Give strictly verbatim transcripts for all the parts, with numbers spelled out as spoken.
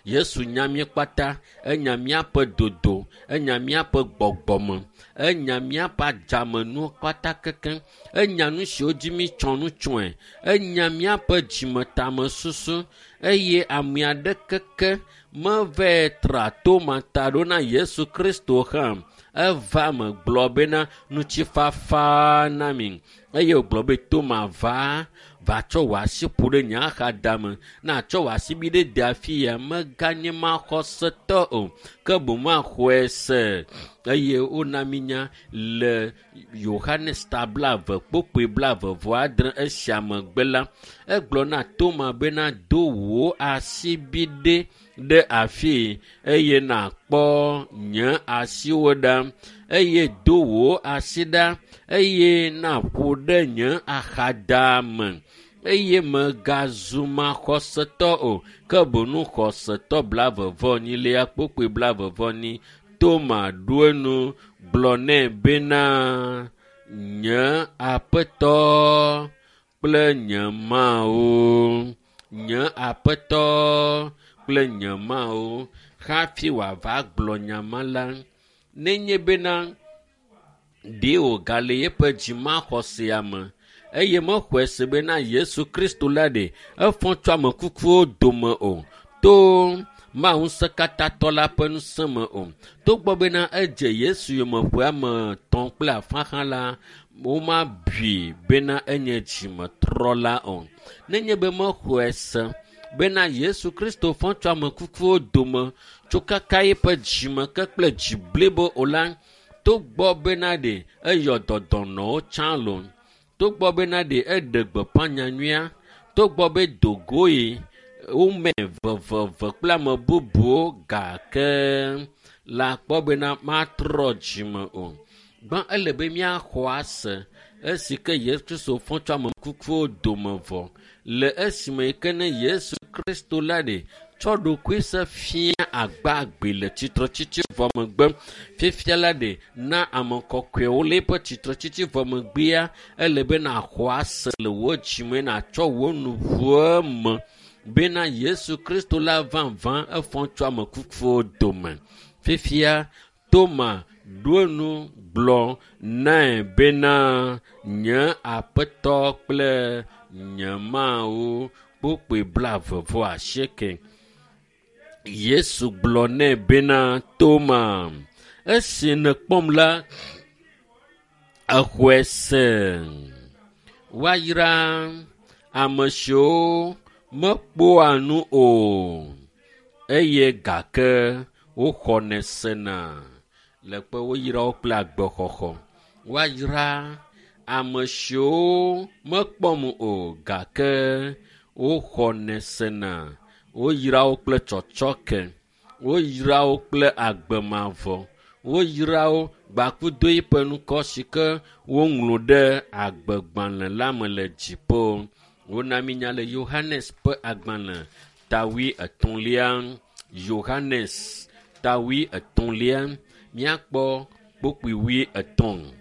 Yesu nya mí kpata, enya míaƒe dodo, enya míaƒe gbɔgbɔme, enya míaƒe adzamenuwo kpata kekeŋ, enya nu siwo dzi mítsɔ nu tsɔe, enya míaƒe dzimetamesusu eye ame aɖeke ke meva tra Toma ta ɖo na Yesu Kristo hã. Eva me gblɔ bena ŋutifafa na mi eye wògblɔ be Toma va va tsɔ wò asi ƒo ɖe nye axadame na tsɔ wò asi bi ɖe de afi ya meganye maxɔsetɔ o ke boŋ maxɔe se eye wona mi nya le Yohanes ta blaeve kpokpoe blaeve vɔ adre esia megbe la egblɔ na Toma bena do wò asi bi ɖe ɖe afi eye nàkpɔ nye asiwo ɖa eye do wò asi ɖa eye nàƒo ɖe nye axadame eye megazu maxɔsetɔ o ke boŋ xɔsetɔ blaeve vɔ enyilia kpokpoe blaeve vɔ enyi Toma ɖo enu gblɔ nɛ bena nye aƒetɔ kple nye Mawu nye aƒetɔ kple nye Mawu hafi wòava gblɔ nya ma la nenye bena ɖe wògale yeƒe dzimaxɔsea me eye mexɔe se bena Yesu Kristo la ɖe efɔ tso ame kukuwo dome o to Mawu ŋusẽkatãtɔ la ƒe ŋusẽ me o. Togbɔ bena edze Yesu yome ƒe ame etɔ̃ kple afã hã la, womabui bena enye dzimetrɔla o. Nenye be mexɔe se bena Yesu Kristo fɔ tso ame kukuwo dome tso kaka eƒe dzime ke kple dzi blibo o la, togbɔ bena ɖe eyɔ dɔdɔnɔwo tsã loo, togbɔ bena ɖe eɖe gbeƒã nyanyuia, togbɔ be dogoe wome veveve kple ame bubuwo gake la kpɔ bena matrɔ dzime o. Gbã ele be míaxɔ ase esi ke Yesu Kristo fɔ tso ame kukuwo dome vɔ le esime yi ke ne Yesu Kristo la ɖe tsɔ ɖokui se fia agbagbe le tsitretsitsi vɔ megbe. Fifia la ɖe na ame kɔkɔewo le eƒe tsitretsitsi vɔ megbea ele be nàxɔ ase le wò dzime nàtsɔ wò nuʋue me bena Yesu Kristo la vavã efɔ tso ame kukuwo dome. Fifia Toma ɖo enu gblɔ nɛ bena nye aƒetɔ kple nye Mawu kpokpoe blaeve vɔ asieke. Yesu gblɔ nɛ bena Toma esi nèkpɔm la exɔe se. Woayra ame siwo mekpɔa nu o eye gake woxɔnɛ sena le kpe woyra wo kple agbexɔxɔ. Woayra ame siwo mekpɔm o gake woxɔnɛ sena. Woyra wo kple tsɔtsɔke, woyra wo kple agbemavɔ, woyra wo gbakudo eƒe ŋkɔ si ke woŋlɔ ɖe agbegbalẽ la me le dziƒo. Wona mi nya le Yohanes ƒe agbalẽ ta wui etɔ̃lia. Yohanes ta wui etɔ̃lia míakpɔ kpokpui wui etɔ̃.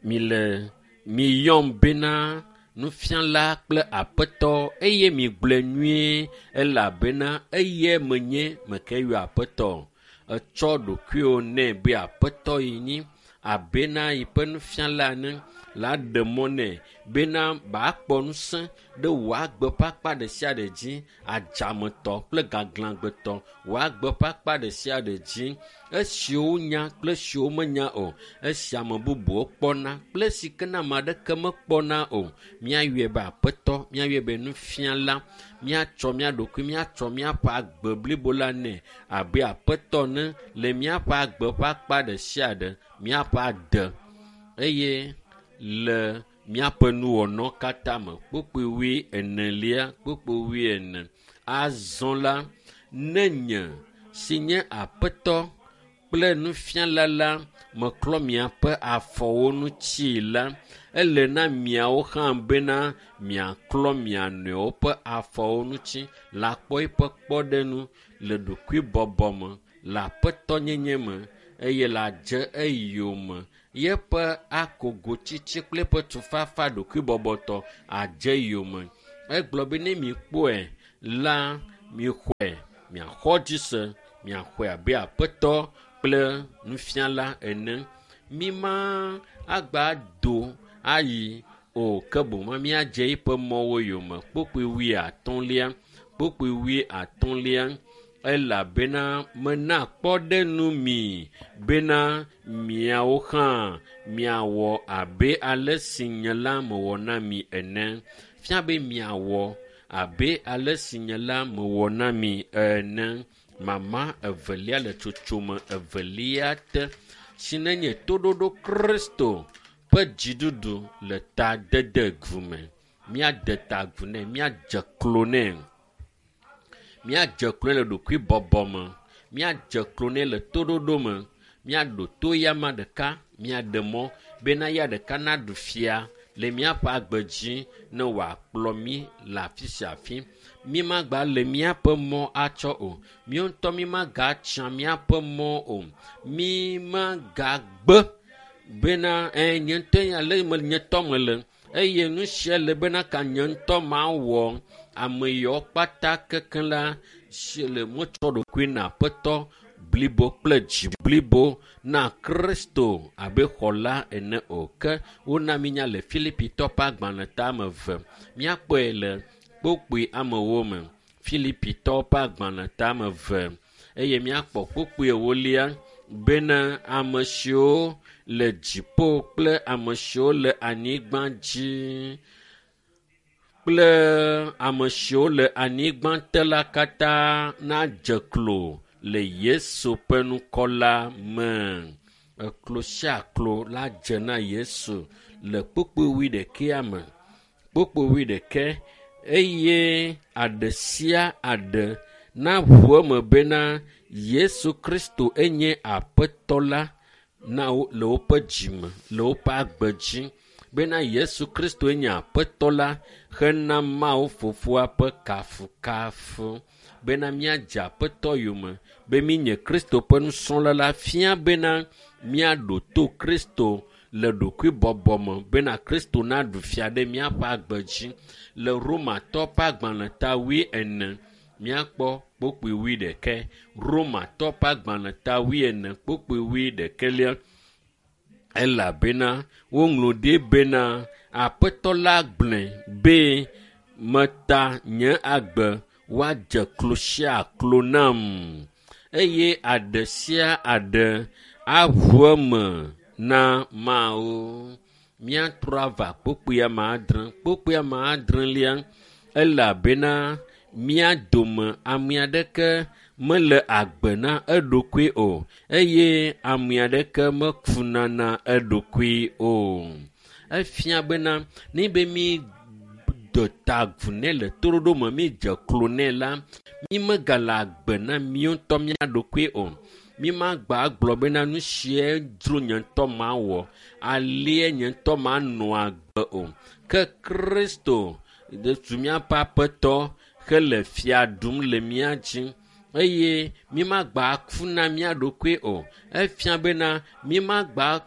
Mile miyɔm bena nufiala kple aƒetɔ eye migblɔe nyuie elabena eye menye meke yɔ aƒetɔ. Etsɔ ɖokuiwò nɛ be aƒetɔ yi nyi abena yiƒe nufiala ene la ɖe mɔ nɛ bena bakpɔ ŋusẽ ɖe wò agbe ƒe akpa ɖe sia ɖe dzi, adzametɔ kple gaglãgbetɔ, wò agbe ƒe akpa ɖe sia ɖe dzi, esiwo nya kple esiwo menya o, esi ame bubuwo kpɔna kple esi ke ne ame aɖeke mekpɔna o. Míayɔe be aƒetɔ, míayɔe be nufiala, míatsɔ mía ɖokui, míatsɔ míaƒe agbe blibo la nɛ abe aƒetɔ ne le míaƒe agbe ƒe akpa ɖe sia ɖe, míaƒe ade eye le míaƒe nuwɔnawo katã me. Kpokpoe wui enelia, kpokpoe wui ene. Azɔ la, ne nye si nye aƒetɔ kple nufiala la meklɔ miaƒe afɔwo ŋuti la, ele na miawo hã bena miaklɔ mia nɔewo ƒe afɔwo ŋuti le akpɔ eƒe kpɔɖeŋu le ɖokuibɔbɔ me, le aƒetɔnyenye me eye le adze eyome. Yeƒe akogotsitsi kple eƒe tufafa ɖokuibɔbɔtɔ adze yome. Egblɔ be ne mikpɔe la, Mixɔe, miaxɔ dzi se, miaxɔe abe aƒetɔ kple nufiala ene. Mi ma agba do ayi o ke boŋ míadze eƒe mɔwo yome. Kpukpui wuiatɔ̃lia, kpukpui wuiatɔ̃lia elabena mena kpɔɖeŋu mi bena miawo hã miawɔ abe ale si nye la mewɔ na mi ene. Fia be miawɔ abe ale si nye la mewɔ na mi ene. Mama evelia le tsotsome evelia te si nenye toɖoɖo Kristo ƒe dziɖuɖu le ta dede gu me. Míade ta agu nɛ, míadze klo nɛ. Míadze klo le ɖokuibɔbɔ me. Míadze klo nɛ le toɖoɖo me. Míaɖo to yama ɖeka, míaɖe mɔ bena ya ɖeka naɖu fia le míaƒe agbe dzi ne wòakplɔ mí le afi sia afi. Mí magba le míaƒe mɔ atsɔ o. Míawo ŋutɔ mí magatsa míaƒe mɔ o. Mí magagbe bena ɛ nye ŋutɔ ale me nye tɔ mele eye nu sia le bena ka nye ŋutɔ mawɔ ame yawo kpata kekeŋ la si le motsɔ ɖokui na aƒetɔ blibo kple dzi blibo na Kristo abe xɔla ene o. Ke wona mínya le Filipitɔ ƒe agbalẽ ta ame eve. Míakpɔe le kpukpui amewo me. Filipitɔ ƒe agbalẽ ta ame eve eye míakpɔ kpukpui ewolia bena ame siwo le dziƒo kple ame siwo le anyigba dzi kple ame siwo le anyigba te la katã nadze klo le Yesu ƒe ŋkɔ la me. Eklo sia klo la dze na Yesu le kpukpui wuiɖekɛa me. Kpukpui wuiɖekɛ eye aɖe sia aɖe naʋu eme bena Yesu Kristo enye Aƒetɔ la na wo le woƒe dzime, le woƒe agbe dzi bena Yesu Kristo enye Aƒetɔ la hena Mawu Fofoa ƒe kafukafu bena míadze Aƒetɔ yome be mínye Kristo ƒe nusrɔ̃la la fia bena míaɖo to Kristo le ɖokuibɔbɔ me bena Kristo naɖu fia ɖe míaƒe agbe dzi. Le Romatɔ ƒe agbalẽ ta wuiene míakpɔ kpukpui wuiɖekɛ. Romatɔ ƒe agbalẽ ta wuiene kpukpui wuiɖekɛlia elabena woŋlɔ ɖi bena Aƒetɔ la gblɔe be meta nye agbe woadze klo sia klo nam eye aɖe sia aɖe aʋu eme na Mawu. Míatrɔ ava kpukpui ame adre. Kpukpui ame adrelia elabena mía dome ame aɖeke mele agbe na eɖokui o eye ame aɖeke mekuna na eɖokui o. Efia bena ne be mí de ta agu nɛ le toɖoɖo me, mídze klo nɛ la, mí megale agbe na míawo ŋutɔ mía ɖokui o. Mí magba gblɔ bena nu sia dzro nye ŋutɔ mawɔ, alie nye ŋutɔ manɔ agbe o. Ke Kristo zu míaƒe Aƒetɔ hele fia ɖum le mía dzi eye mí magba ku na mía ɖokui o. Efia bena mí magba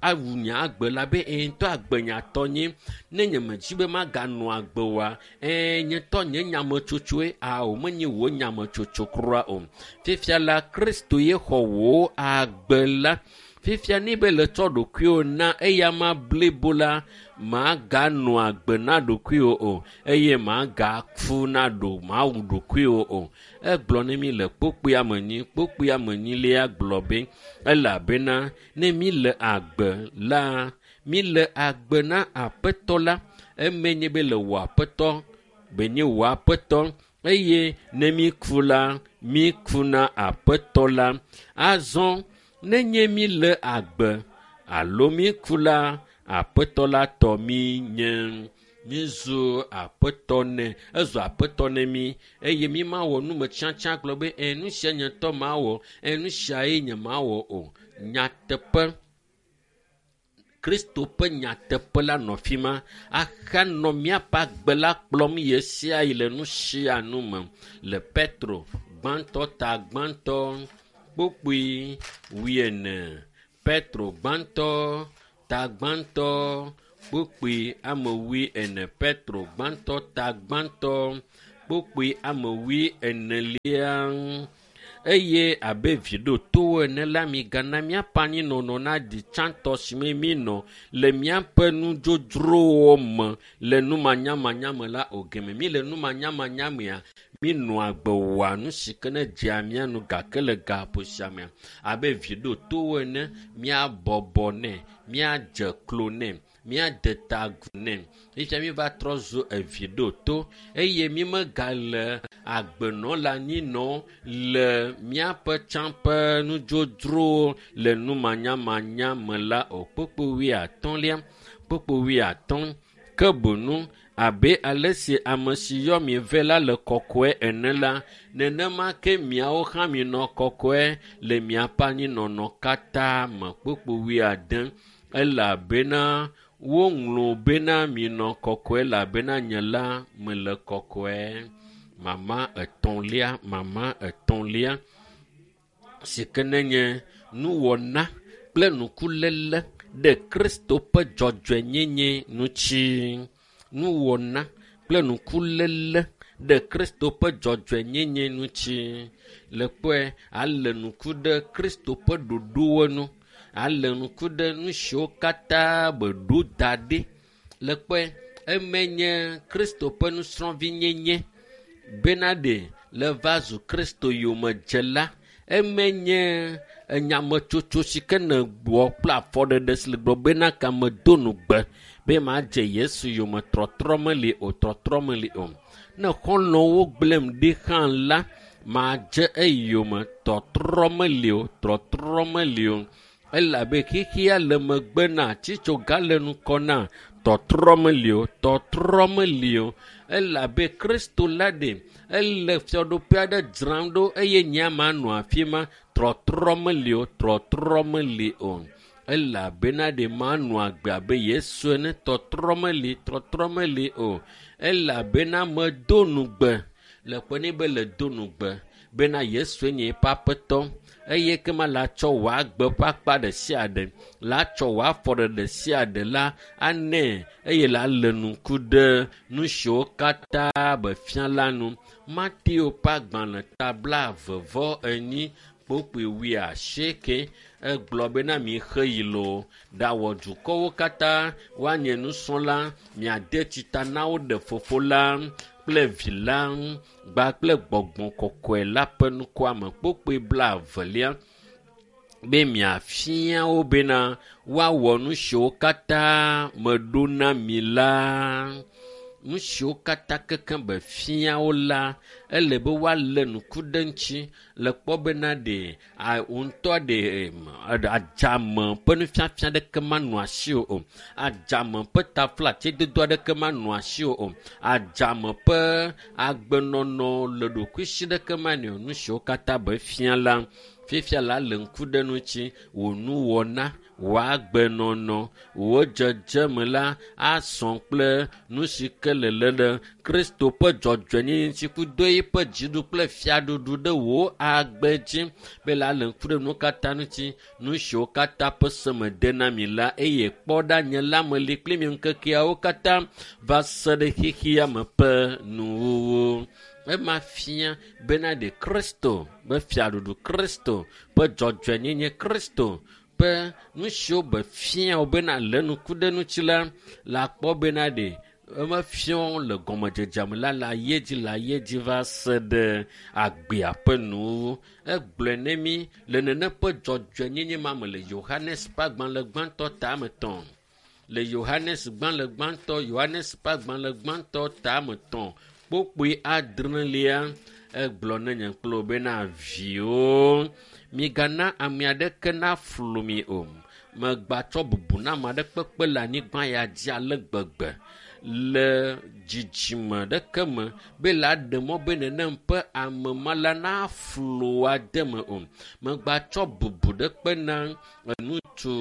awu nye agbe la be eye ŋutɔ agbe nyatɔ nye. Ne nye medzi be maganɔ agbe oa, ɛɛ nye ŋutɔ nye nyametsotsoe ao menye wò nyametsotso kura o. Fifia la Kristo ye xɔ wò agbe la. Fifia ne be le tsɔ ɖokuiwò na eyama blibo la, maganɔ agbe na ɖokuiwò o eye magaku na ɖo mawu ɖokuiwò o. Egblɔ ne mi le kpukpui ame enyi, kpukpui ame enyilia gblɔ be elabena ne mi le agbe la, mi le agbe na Aƒetɔ la, eme nye be le wò Aƒetɔ, be nye wò Aƒetɔ eye ne mi ku la, mi ku na Aƒetɔ la. Azɔ nenye mi le agbe alo mi ku la, Aƒetɔ la tɔ mi nye. Mízu Aƒetɔ nɛ, ezu Aƒetɔ ne mí eye mí mawɔ numetsiatsia gblɔ be ɛ nu sia nye ŋutɔ mawɔ, ɛ nu siae nye mawɔ o. Nyateƒe Kristo ƒe nyateƒe la nɔ fi ma ahanɔ míaƒe agbe la kplɔm ɣe sia ɣi le nu sia nu me. Le Petro gbãtɔ ta gbãtɔ kpukpui wuiene. Petro gbãtɔ ta gbãtɔ kpukpui ame wuiene. Petro gbãtɔ ta gbãtɔ kpokpoe ame wui enelia. Eye abe vi ɖotowo ene la, migana míaƒe anyinɔnɔ naɖi tsãtɔ si me míenɔ le míaƒe nudzodzrowo me le numanyamanya me la o. Geme mí le numanyamanya mea, míenɔa agbe wɔa nu si ke ne dzea mía nu gake le gaƒo sia mea, abe vi ɖotowo ene, míabɔbɔ nɛ, míadze klo nɛ, míade ta agu nɛ. Fifia míva trɔ zu evi ɖoto eye mímegale agbenɔ le anyinɔ le míaƒe tsã ƒe nudzodzrowo le numanyamanya me la o. Kpokpo wuiatɔ̃lia, kpokpo wuiatɔ̃. Ke boŋu abe ale si ame si yɔ mi vɛ la le kɔkɔe ene la, nenema ke miawo hã minɔ kɔkɔe le miaƒe anyinɔnɔ katã me. Kpokpo wuiade. Elabena woŋlɔ bena minɔ kɔkɔe elabena nye la mele kɔkɔe. Mama etɔ̃lia, mama etɔ̃lia si ke nenye nuwɔna kple nukuléle ɖe Kristo ƒe dzɔdzɔenyenye ŋuti. Nuwɔna kple nukuléle ɖe Kristo ƒe dzɔdzɔenyenye ŋuti. Le kpɔe ale nuku ɖe Kristo ƒe ɖoɖowo nu. Ale nuku ɖe nu siwo katã be ɖo da ɖi. Le kpɔe eme nye Kristo ƒe nusrɔ̃vinyenye bena ɖe le va zu Kristo yomedzela. Eme nye enyametsotso si ke ne wɔ kple afɔɖeɖe si le gblɔ bena kame do nugbe be madze Yesu yome trɔtrɔ meli o, trɔtrɔ meli o. Ne xɔlɔ̃wo gblẽm ɖi hã la, madze eyome tɔtrɔ meli o, trɔtrɔ meli o. Elabe xexea le megbe na tsitsoga le ŋkɔ na tɔtrɔ meli o, tɔtrɔ meli o. Elabe Kristo la ɖe ele fiaɖuƒe aɖe dzram ɖo eye nye manɔ afi ma. Trɔtrɔ meli o, trɔtrɔ meli o. Elabena ɖe manɔ agbe abe Yesu ene. Tɔtrɔ meli, trɔtrɔ meli o. Elabena medo nugbe le kpe nɛ be le do nugbe bena Yesue nye eƒe aƒetɔ eye kema la tsɔ wò agbe ƒe akpa ɖe sia ɖe, la tsɔ wò afɔ ɖe sia ɖe la anɛ eye la lé ŋku ɖe nu siwo katã be fia la nu. Mateo ƒe agbalẽ ta blaeve vɔ enyi kpokpoe wuiasieke egblɔ bena mixe yi loo ɖawɔ dukɔwo katã woanye nusrɔ̃la, miade tsita na wo ɖe Fofo la kple Vi la gba kple Gbɔgbɔ Kɔkɔe la ƒe ŋkɔa me. Kpokpoe blaevelia be miafia wo bena woawɔ nu siwo katã meɖo na mi la. Nu siwo katã kekem be fia wo la, ele be woalé ŋku ɖe ŋuti le kpɔ bena ɖe a ŋutɔ ɖe adzame ƒe nufiafia ɖeke manɔ asiwò o. Adzame ƒe taflatsedodo aɖeke manɔ asiwò o. Adzame ƒe agbenɔnɔ le ɖokuisi ɖeke manɔ o. Nu siwo katã be fia la, fifia la le ŋku ɖe ŋuti wò nuwɔna, wò agbenɔnɔ, wò dzedzeme la asɔ kple nu si ke le lé ɖe Kristo ƒe dzɔdzɔenyenye ŋuti kudo eƒe dziɖu kple fiaɖuɖu ɖe wò agbe dzi be la le ŋku ɖe nuwo katã ŋuti, nu siwo katã ƒe se me de na mi la eye kpɔ ɖa nye la meli kpli mi ŋkekeawo katã va se ɖe xexea me ƒe nuwuwu. Ema fia bena ɖe Kristo ƒe fiaɖuɖu, Kristo ƒe dzɔdzɔenyenye, Kristo ƒe nu siwo be fia wo bena lé ŋku ɖe ŋuti la, la kpɔ bena ɖe emefia wo le gɔmedzedzea me la le ayi dzi le ayi dzi va se ɖe agbea ƒe nuwuwu. Egblɔe ne mí le nene ƒe dzɔdzɔenyenye ma me le Yohanes ƒe agbalẽ gbãtɔ ta ame etɔ̃. Le Yohanes gbalẽ gbãtɔ, Yohanes ƒe agbalẽ gbãtɔ ta ame etɔ̃ kpokpoe adrelia egblɔ ne nye kple wò bena viwo migana ame aɖeke naflu mi o. Megbatsɔ bubu na ame aɖe kpekpe le anyigba ya dzi ale gbegbe le dzidzime ɖeke me be la ɖe mɔ be nenem ƒe ame ma la naflu ade me o. Megbatsɔ bubu ɖe kpe na ŋutsu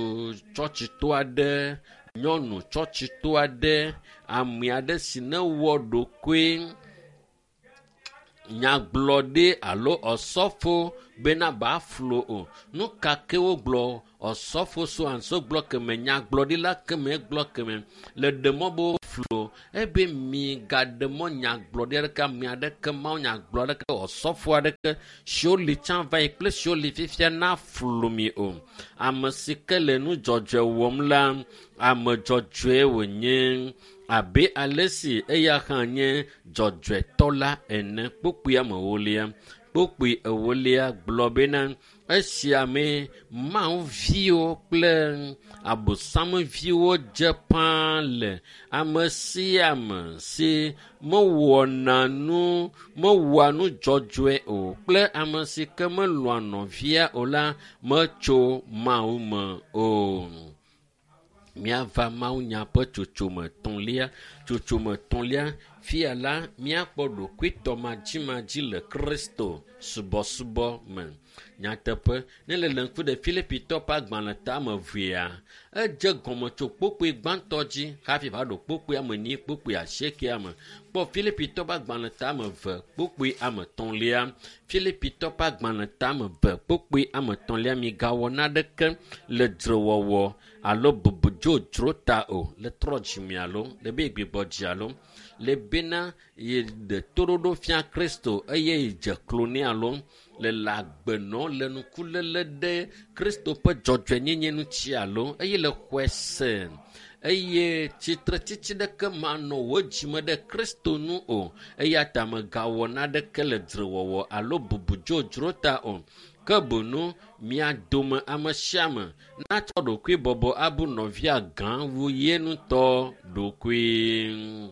tsɔtsitɔ aɖe, nyɔnu tsɔtsitɔ aɖe, ame aɖe si ne wɔ ɖokoe nyagblɔɖi alo ɔsɔfo bena baflo o. Nu ka ke wogblɔ ɔsɔfo so anso gblɔ keme, nyagblɔɖila keme gblɔ keme le ɖe mɔ be flu ebe migaɖe mɔ nyagblɔɖi aɖeke ame aɖeke mawu nyagblɔ aɖeke ɔsɔfo aɖeke siwo li tsã va yi kple siwo li fifia na flu mi o. Ame si ke le nu dzɔdzɔe wɔm la, ame dzɔdzɔe wònye abe ale si eya hã nye dzɔdzɔetɔ la ene. Kpukpui ame ewolia. Kpukpui ewolia gblɔ bena esia me Mawu viwo kple abosamviwo dze ƒãa le ame sia ame si mewɔna nu mewɔa nu dzɔdzɔe o kple ame si ke melɔ̃a nɔvia o la metso Mawu me o. Míava mawunya ƒe tsotsome etɔ̃lia. Tsotsome etɔ̃lia fia la míakpɔ ɖokuitɔmadzimadzi le Kristo subɔsubɔ me. Nyateƒe ne le le ŋku ɖe Filipitɔ ƒe agbalẽ tame evea, edze gɔme tso kpukpui gbãtɔ dzi hafi va ɖo kpukpui ame enyi kpukpui asiekea me. Kpɔ Filipitɔ ƒe agbalẽ tame eve kpukpui ame etɔ̃lia. Filipitɔ ƒe agbalẽ tame eve kpukpui ame etɔ̃lia migawɔ naneke le dzrewɔwɔ alo bubu dzodzro ta o le trɔ dzime alo le be gbigbɔ dzi alo le bena ye ɖe toɖoɖo fia Kristo eye ye dze klo nɛ alo le le agbenɔ le nukuléle ɖe Kristo ƒe dzɔdzɔenyenye ŋuti alo eye le xɔe se eye tsitretsitsi ɖeke manɔ wò dzime ɖe Kristo nu o eya ta megawɔ naneke le dzrewɔwɔ alo bubu dzodzro ta o. Ke boŋ mia dome ame sia ame natsɔ ɖokuibɔbɔ abu nɔvia gã wu ye ŋutɔ ɖokui.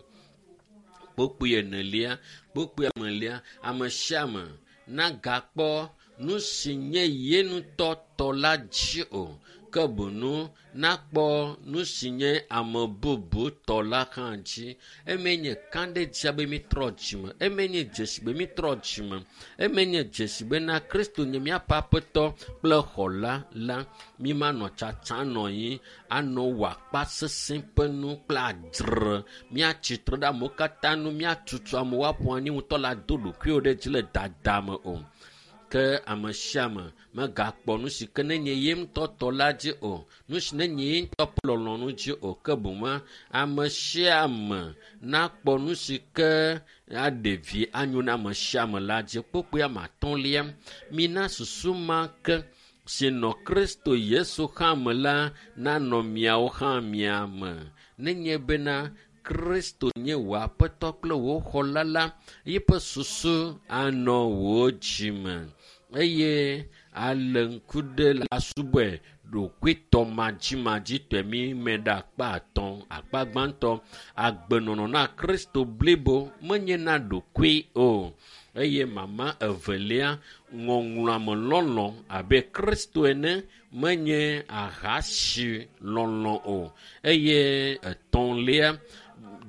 Kpukpui enelia, kpukpui enelia, ame sia ame nagakpɔ nu si nye ye ŋutɔ tɔ la dzi o, ke boŋ nakpɔ nu si nye ame bubu tɔ la hã dzi. Eme nye kãɖedzia be mitrɔ dzime, eme nye dzesi be mitrɔ dzime, eme nye dzesi bena Kristo nye míaƒe aƒetɔ kple xɔla la. Mímanɔ tsatsa nɔ anyi anɔ wɔ akpa sesẽ ƒe nu kple adzre. Míatsitre ɖe amewo katã nu, míatutu amewo aƒo anyi ŋutɔ la do ɖokuiwo ɖe dzi le dada me o. Ke ame sia ame megakpɔ nu si ke nenye ye ŋutɔ tɔ la dzi o, nu si nenye ye ŋutɔ ƒe lɔlɔ̃nu dzi o, ke boŋ ame sia ame nakpɔ nu si ke aɖe vi anyo na ame sia ame la dzi. Kpukpui ame atɔ̃lia, mina susu ma ke si nɔ Kristo Yesu hã me la nanɔ miawo hã mia me. Nenye bena Kristo nye wò aƒetɔ kple wò xɔla la, yeƒe susu anɔ wò dzime eye ale ŋku ɖe la subɔe ɖokuitɔmadzimadzitɔe mi me ɖe akpa atɔ̃. Akpa gbãtɔ, agbenɔnɔ na Kristo blibo menye na ɖokui o. Eye mama evelia, ŋɔŋlɔame lɔlɔ̃ abe Kristo ene menye ahasi lɔlɔ̃ o. Eye etɔ̃lia,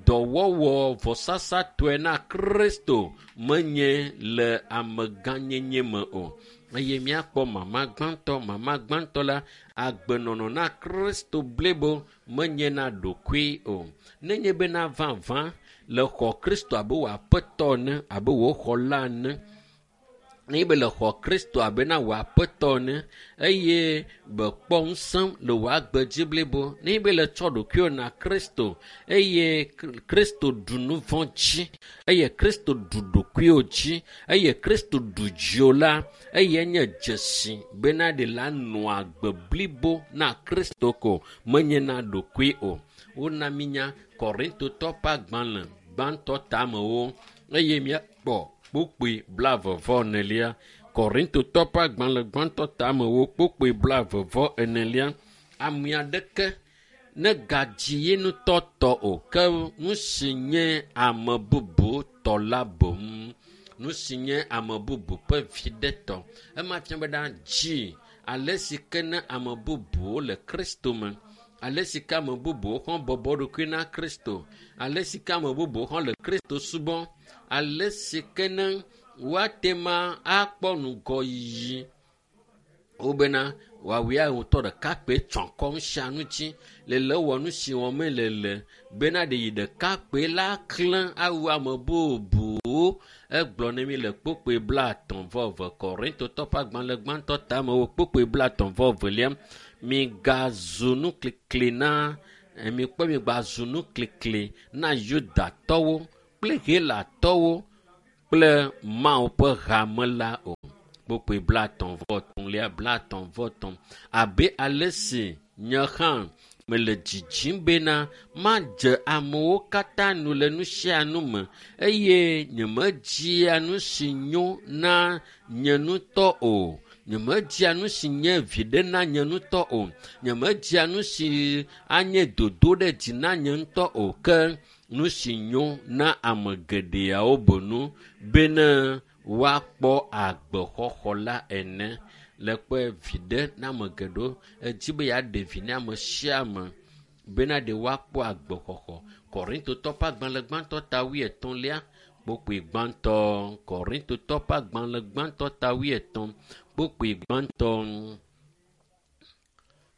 dɔwɔwɔ vɔsasatɔe na Kristo menye le amegãnyenye me o. Eye míakpɔ mama gbãtɔ, mama gbãtɔ la, agbenɔnɔ na Kristo blibo menye na ɖokui o. Nenye bena vavã le xɔ Kristo abe wò aƒetɔ ene, abe wò xɔla ene, nenye be le xɔ Kristo abe na wò aƒetɔ ene eye bekpɔ ŋusẽ le wò agbe dzi blibo, nenye be le tsɔ ɖokuiwò na Kristo eye Kristo ɖu nu vɔ̃ dzi eye Kristo ɖu ɖokuiwò dzi eye Kristo ɖu dziwò la, eye nye dzesi bena ɖe la nɔ agbe blibo na Kristo ko menye na ɖokui o. Wona mínya Korintotɔ ƒe agbalẽ gbãtɔ tamewo eye míakpɔ kpukpui blaeve vɔ enelia. Korintotɔ ƒe agbalẽ gbãtɔ tamewo kpukpui blaeve vɔ enelia. Ame aɖeke negadzi ye ŋutɔ tɔ o, ke nu si nye ame bubu tɔ la boŋ. Nu si nye ame bubu ƒe viɖe tɔ. Ema fia be ɖa dzi ale si ke ne ame bubuwo le Kristo me, ale si ke ame bubuwo hã bɔbɔ ɖokui na Kristo, ale si ke ame bubuwo hã le Kristo subɔm, ale si ke ne woate ma akpɔ ŋgɔyiyi wobena woawoe ŋutɔ ɖeka kpe tsɔ akɔ sia nu dzi le le wɔ nu si wɔm le le bena ɖe yi ɖeka kpe la klẽ awu ame bubuwo. Egblɔ ne mi le kpukpui blaetɔ̃ vɔ eve Korintotɔ ƒe agbalẽ gbãtɔ tamewo kpukpui blaetɔ̃ vɔ evelia, migazu nuklikli na Mikpɔ mi gba zu nuklikli na Yudatɔwo kple Helatɔwo kple Mawu ƒe hame la o. Kpukpui blaetɔ̃ vɔ etɔ̃lia blaetɔ̃ vɔ etɔ̃. Abe ale si nye hã mele dzidzim bena madze amewo katã nu le nu sia nu me eye nyemedzia nu si nyo na nye ŋutɔ o. Nyemedzia nu si nye viɖe na nye ŋutɔ o. Nyemedzia nu si anye dodo ɖe dzi na nye ŋutɔ o ke nu si nyo na ame geɖeawo bonu bene woakpɔ agbexɔxɔ la ene. Le kpɔe viɖe na ame geɖewo edzi be yeaɖe vi na ame sia ame bena ɖe woakpɔ agbexɔxɔ. Korintotɔ ƒe agbalẽ gbãtɔ ta wuietɔ̃lia kpukpui gbãtɔ. Korintotɔ ƒe agbalẽ gbãtɔ ta wuietɔ̃ kpukpui gbãtɔ.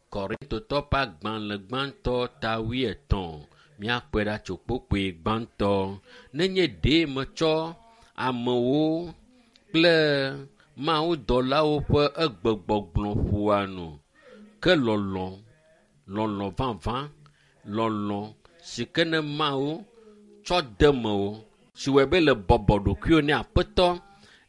Korintotɔ ƒe agbalẽ gbãtɔ ta wuietɔ̃. Míakpɔe ɖa tso kpukpui gbãtɔ. Nenye ɖe metsɔ amewo kple mawudɔlawo ƒe egbegbɔgblɔ ƒoa nu ke lɔlɔ, lɔlɔ vavã, lɔlɔ si ke ne Mawu tsɔ de mewò si wɔe be le bɔbɔ ɖokuiwò ne Aƒetɔ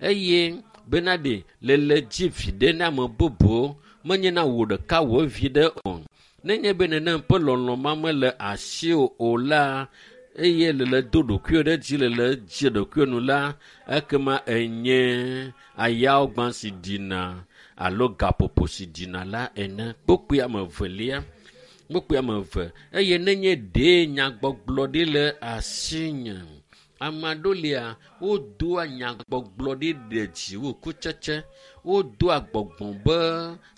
eye bena ɖe lele dzi viɖe na ame bubuwo menye na wò ɖeka wò viɖe o. Nenye be nenem ƒe lɔlɔ ma mele asiwò o la eye lele do ɖokuiwò ɖe dzi lele dzi ɖokuiwò nu la ekema enye ayawogbã si ɖina alo gaƒoƒo si ɖina la ene. Kpukpui ame evelia kpukpui ame eve eye nenye ɖe nyagbɔgblɔ ɖi le asinye. Ame aɖewo lia wodoa nyagbɔgblɔ ɖi ɖe dzi wu kutsetse. Wodoa gbɔgbɔ be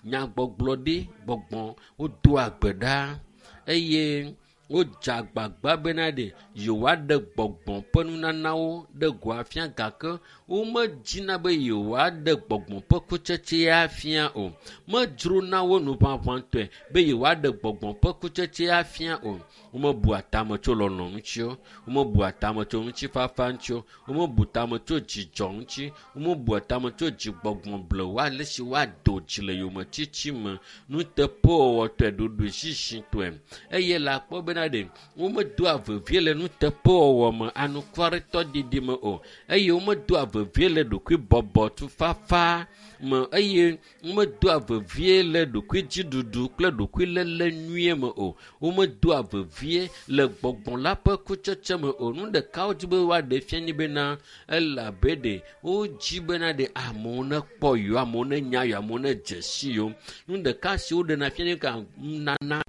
nyagbɔgblɔ ɖi gbɔgbɔ wodoa gbe ɖa eye wodze agbagba bena ɖe yewoaɖe gbɔgbɔ ƒe nunanawo ɖe go afia gake womedzina be yewoaɖe gbɔgbɔ ƒe kutsetse afia o. Medzrona wo nuʋaʋãtɔe be yewoaɖe gbɔgbɔ ƒe kutsetse afia o. Womebua tame tso lɔlɔ ŋuti o. Womebua tame tso ŋutifafa ŋuti o. Womebu tame tso dzidzɔ ŋuti. Womebua tame tso dzigbɔgbɔ blewu ale si woado dzi le yometiti me nuteƒewɔwɔtɔe ɖoɖoezizitɔe eye le akpɔ bena ɖe womedoa vevie le nuteƒewɔwɔ me anukwaretɔ didi me o eye womedoa vevie le ɖokuibɔbɔ tufafa me eye womedoa vevie le ɖokuidziɖuɖu kple ɖokuilélé nyuie me o. Womedoa vevie le gbɔgbɔ la ƒe kutsetse me o. Nu ɖeka wodzi be woaɖe fia nyi bena elabe ɖe wodzi bena ɖe amewo nekpɔ yewo, amewo nenya yewo, amewo nedze si yewo. Nu ɖeka si woɖena fia nyi ka nana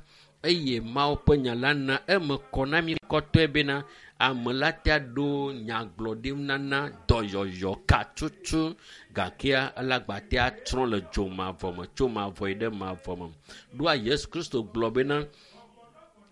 eye Mawu ƒe nya la na eme kɔ na mí kɔtɔe bena ame la tea ɖo nyagblɔɖi nana dɔyɔyɔ katutu gakea elagba tea trɔ le dzo mavɔ me tso mavɔ yi ɖe mavɔ me. Ɖoa Yesu Kristo gblɔ bena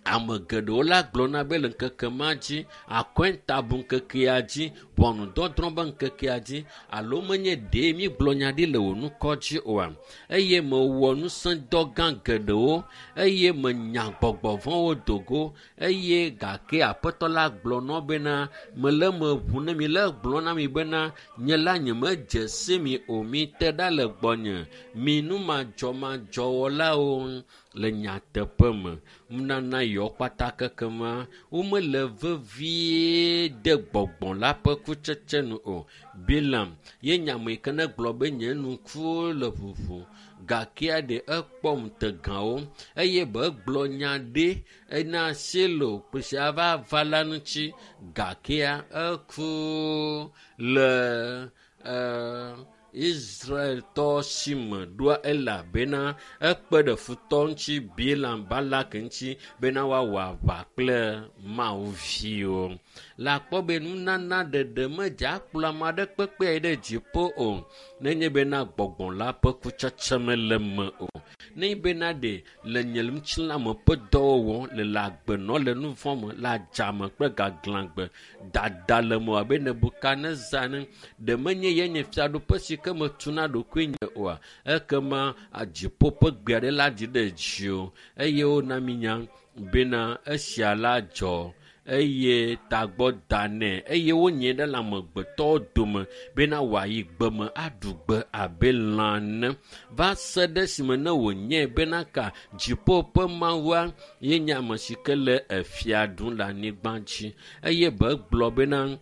ame geɖewo la gblɔna be le ŋkeke ma dzi akɔntabu ŋkekea dzi ʋɔnudɔdrɔ̃ be ŋkekea dzi alo menye ɖe mígblɔ nya ɖi le wò ŋkɔ dzi oa eye mewɔ ŋusẽdɔ gã geɖewo eye menya gbɔgbɔ vɔ̃wo do go eye gake Aƒetɔ la gblɔ nɔ bena mele eme ʋu ne mi le gblɔ na mi bena nye la nyemedze si mi o mite ɖa le gbɔnye mi numadzɔmadzɔwɔlawo le nyateƒe me. Nunana yawo kpata kekema womele vevie de gbɔgbɔ la ƒe kutsetse nu o. Bilam ye nye ame yi ke ne gblɔ be nye ŋkuwo le ʋuʋu gakea ɖe ekpɔ ŋutegawo eye be egblɔ nya ɖe ena Silo si ava va la ŋuti gakea eku le ɛɛ Israeltɔ si me ɖoa elabena ekpe ɖe futɔ ŋuti Bilam Balak ŋuti bena woawɔ aʋa kple Mawu viwo. Le akpɔ be nunana ɖeɖe medze akplɔ ame aɖe kpekpe yi ɖe dziƒo o nenye bena gbɔgbɔ la ƒe kutsetse mele me o. Nenye bena ɖe le nye ŋutilãme ƒe dɔwɔwɔ le le agbenɔ le nu vɔ̃ me le adzame kple gaglãgbe dada le me abe Nebukadnezar ene ɖe menye ye nye fiaɖuƒe si ke metuna ɖokuinye oa ekema dziƒo ƒe gbe aɖe la dzi ɖe dziwò eye wona mi nya bena esia la dzɔ eye tagbɔ da nɛ eye wonyae ɖe le amegbetɔwo dome bena wòayi gbeme aɖu gbe abe lã ene va se ɖe esime ne wònyae bena ka dziƒo ƒe Mawua ye nye ame si ke le efia ɖum le anyigba dzi eye be gblɔ bena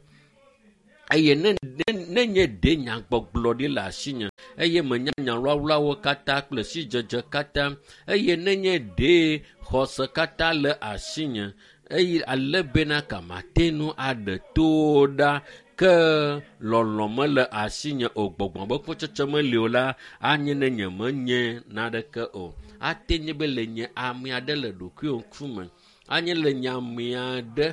eye ne ne nye ɖe nyagbɔgblɔ ɖi le asinye eye menya nyawlawlawo katã kple sidzedze katã eye ne nye ɖe xɔse katã le asinye eye ale bena ka mate ŋu aɖe towo ɖa ke lɔlɔ̃ mele asinye o gbɔgbɔ be kutsetse meli o la anye ne nye menye naneke o ate nye be le nye ame aɖe le ɖokuiwò ŋkume anye le nye ame aɖe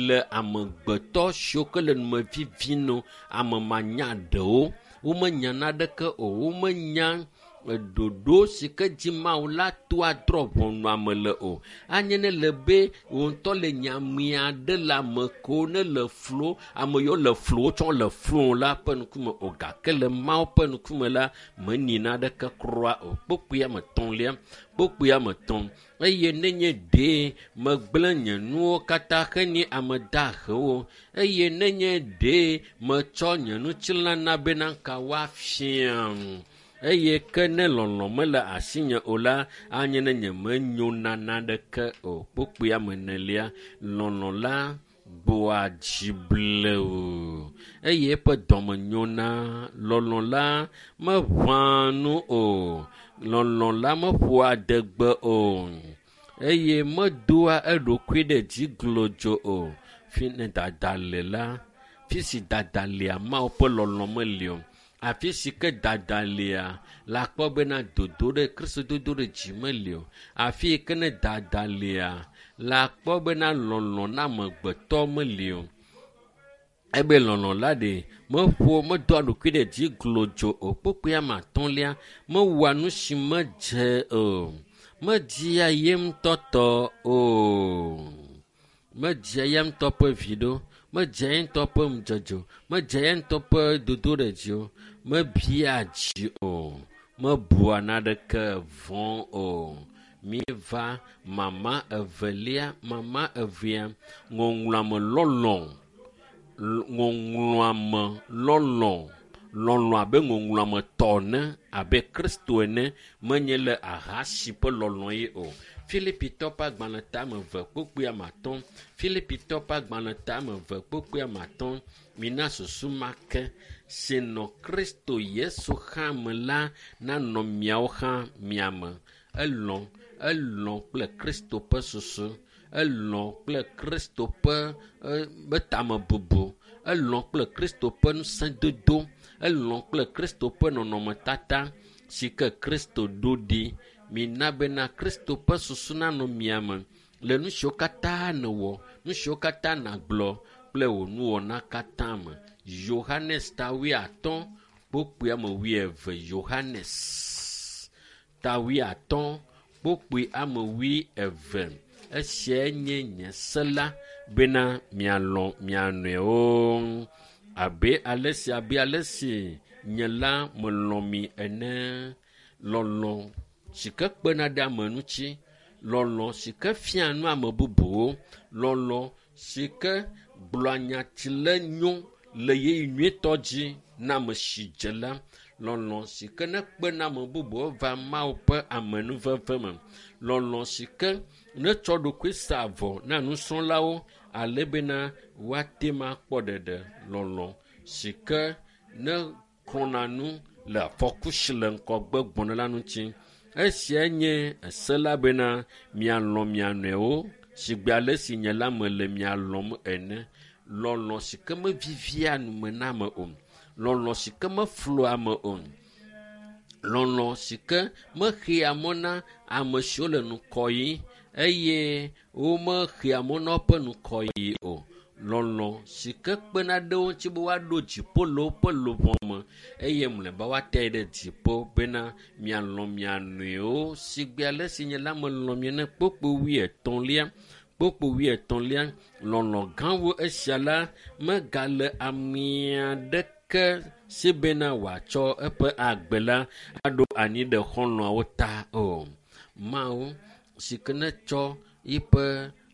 le amegbetɔ siwo ke le nume vivi no ame manyaɖewo womenya naneke o womenya ɖoɖo si ke dzi Mawu la to adrɔ̃ ʋɔnu ame le o anye ne le be wò ŋutɔ le nye ame aɖe le ame kewo ne le flo ame yiwo le flo wotsɔ le flo la ƒe ŋkume o gake le Mawu ƒe ŋkume la menyi naneke kura o kpukpui ame etɔ̃lia kpukpui ame etɔ̃ eye nenye ɖe megblẽ nye nuwo katã henye ame dahewo eye nenye ɖe metsɔ nye ŋutilã na bena ka woafiam eye ke ne lɔlɔ̃ mele asinye o la anye ne nye menyo na naneke o kpukpui ame enelia lɔlɔ̃ la gbɔa dzi blewu eye eƒe dɔme nyona lɔlɔ̃ la meʋãa nu o lɔlɔ̃ la meƒoa adegbe o eye medoa eɖokui ɖe dzi glodzo o fi ne dada le la fi si dada lia Mawu ƒe lɔlɔ̃ meli o afi si ke dada lia la kpɔ bena dodo ɖe Kristo dodo ɖe dzi meli o afi yi ke ne dada lia la kpɔ bena lɔlɔ̃ na amegbetɔ meli o ebe lɔlɔ̃ la ɖe meƒo medoa ɖokui ɖe dzi glodzo o kpukpui ame atɔ̃lia mewɔa nu si medze o media ye ŋutɔ tɔ o medzia ya ŋutɔ ƒe vi ɖo medzia ye ŋutɔ ƒe ŋudzedze o medzia ye ŋutɔ ƒe dodoɖedzi o mebia dzi o mebua naneke vɔ̃ o míeva mama evelia mama evea ŋɔŋlɔame lɔlɔ̃ ŋɔŋlɔame lɔlɔ̃ lɔlɔ̃ abe ŋɔŋlɔame tɔ ene abe Kristo ene menye le ahasi ƒe lɔlɔ̃ ye o Filipitɔ ƒe agbalẽ tame eve kpukpui ame atɔ̃ Filipitɔ ƒe agbalẽ tame eve kpukpui ame atɔ̃ mina susu ma ke si nɔ Kristo Yesu hã me la nanɔ miawo hã mia me elɔ̃ elɔ̃ kple Kristo ƒe susu elɔ̃ kple Kristo ƒe ƒe tamebubu elɔ̃ kple Kristo ƒe ŋusẽdodo elɔ̃ kple Kristo ƒe nɔnɔmetata si ke Kristo ɖo ɖi mina bena Kristo ƒe susu nanɔ mia me le nu siwo katã nèwɔ nu siwo katã nàgblɔ kple wò nuwɔna katã me Yohanes ta wuiatɔ̃ kpukpui ame wuieve Yohanes ta wuiatɔ̃ kpukpui ame wuieve esiae nye nye se la bena mialɔ̃ mia nɔewo abe ale si abe ale si nye la melɔ̃ mi ene lɔlɔ̃ si ke kpena ɖe ame ŋuti lɔlɔ̃ si ke fia nu ame bubuwo lɔlɔ̃ si ke gblɔa nya si le nyo le ɣeyiɣi nyuietɔ dzi na ame si dze la lɔlɔ̃ si ke ne kpena ame bubuwo va Mawu ƒe amenuveve me lɔlɔ̃ si ke netsɔ ɖokui sa avɔ na nusrɔ̃lawo ale bena woate ŋu akpɔ ɖeɖe lɔlɔ̃ si ke ne xlɔ̃na nu le afɔku si le ŋgɔgbe gbɔna la ŋuti esia nye ese la bena mialɔ̃ mia nɔewo sigbe ale si nye la mele mia lɔ̃m ene lɔlɔ̃ si ke mevivia nume na ame o lɔlɔ̃ si ke meflua ame o lɔlɔ̃ si ke mexea mɔ na ame siwo le ŋgɔ yim eye womexea mɔ na woƒe ŋgɔyiyi o lɔlɔ̃ si ke kpena ɖe wo ŋuti be woaɖo dziƒo le woƒe luʋɔ me eye mlɔeba woate ɖe dziƒo bena mialɔ̃ mia nɔewo sigbe ale si nye la melɔ̃ mi ene kpukpui wuietɔ̃lia kpukpui wuietɔ̃lia lɔlɔ̃ gã wu esia la megale ame aɖeke si bena wòatsɔ eƒe agbe la aɖo anyi ɖe xɔlɔ̃awo ta o Mawu si ke netsɔ eƒe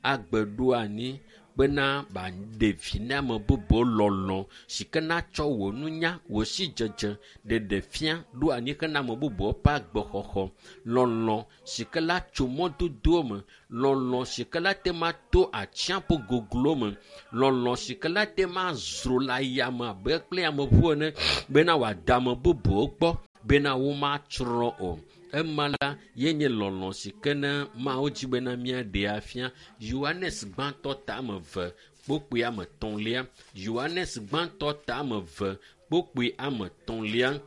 agbe ɖo anyi bena ba ɖe vi na ame bubuwo lɔlɔ si ke natsɔ wò nunya, wò sidzedze ɖeɖe fia ɖo anyi hena ame bubuwo ƒe agbexɔxɔ. Lɔlɔ si ke la tso mɔdodowo me, lɔlɔ si ke la te ma to atsiaƒu goglo me, lɔlɔ si ke la te ma zro le ayame abe kple ameʋu ene bena wòada ame bubuwo gbɔ bena womatsrɔ̃ o. Ema la ye nye lɔlɔ si ke ne Mawu dzi bena míaɖee afia. Yohanes gbãtɔ tame eve kpokpui ame etɔ̃lia. Yohanes gbãtɔ tame eve kpokpui ame etɔ̃lia.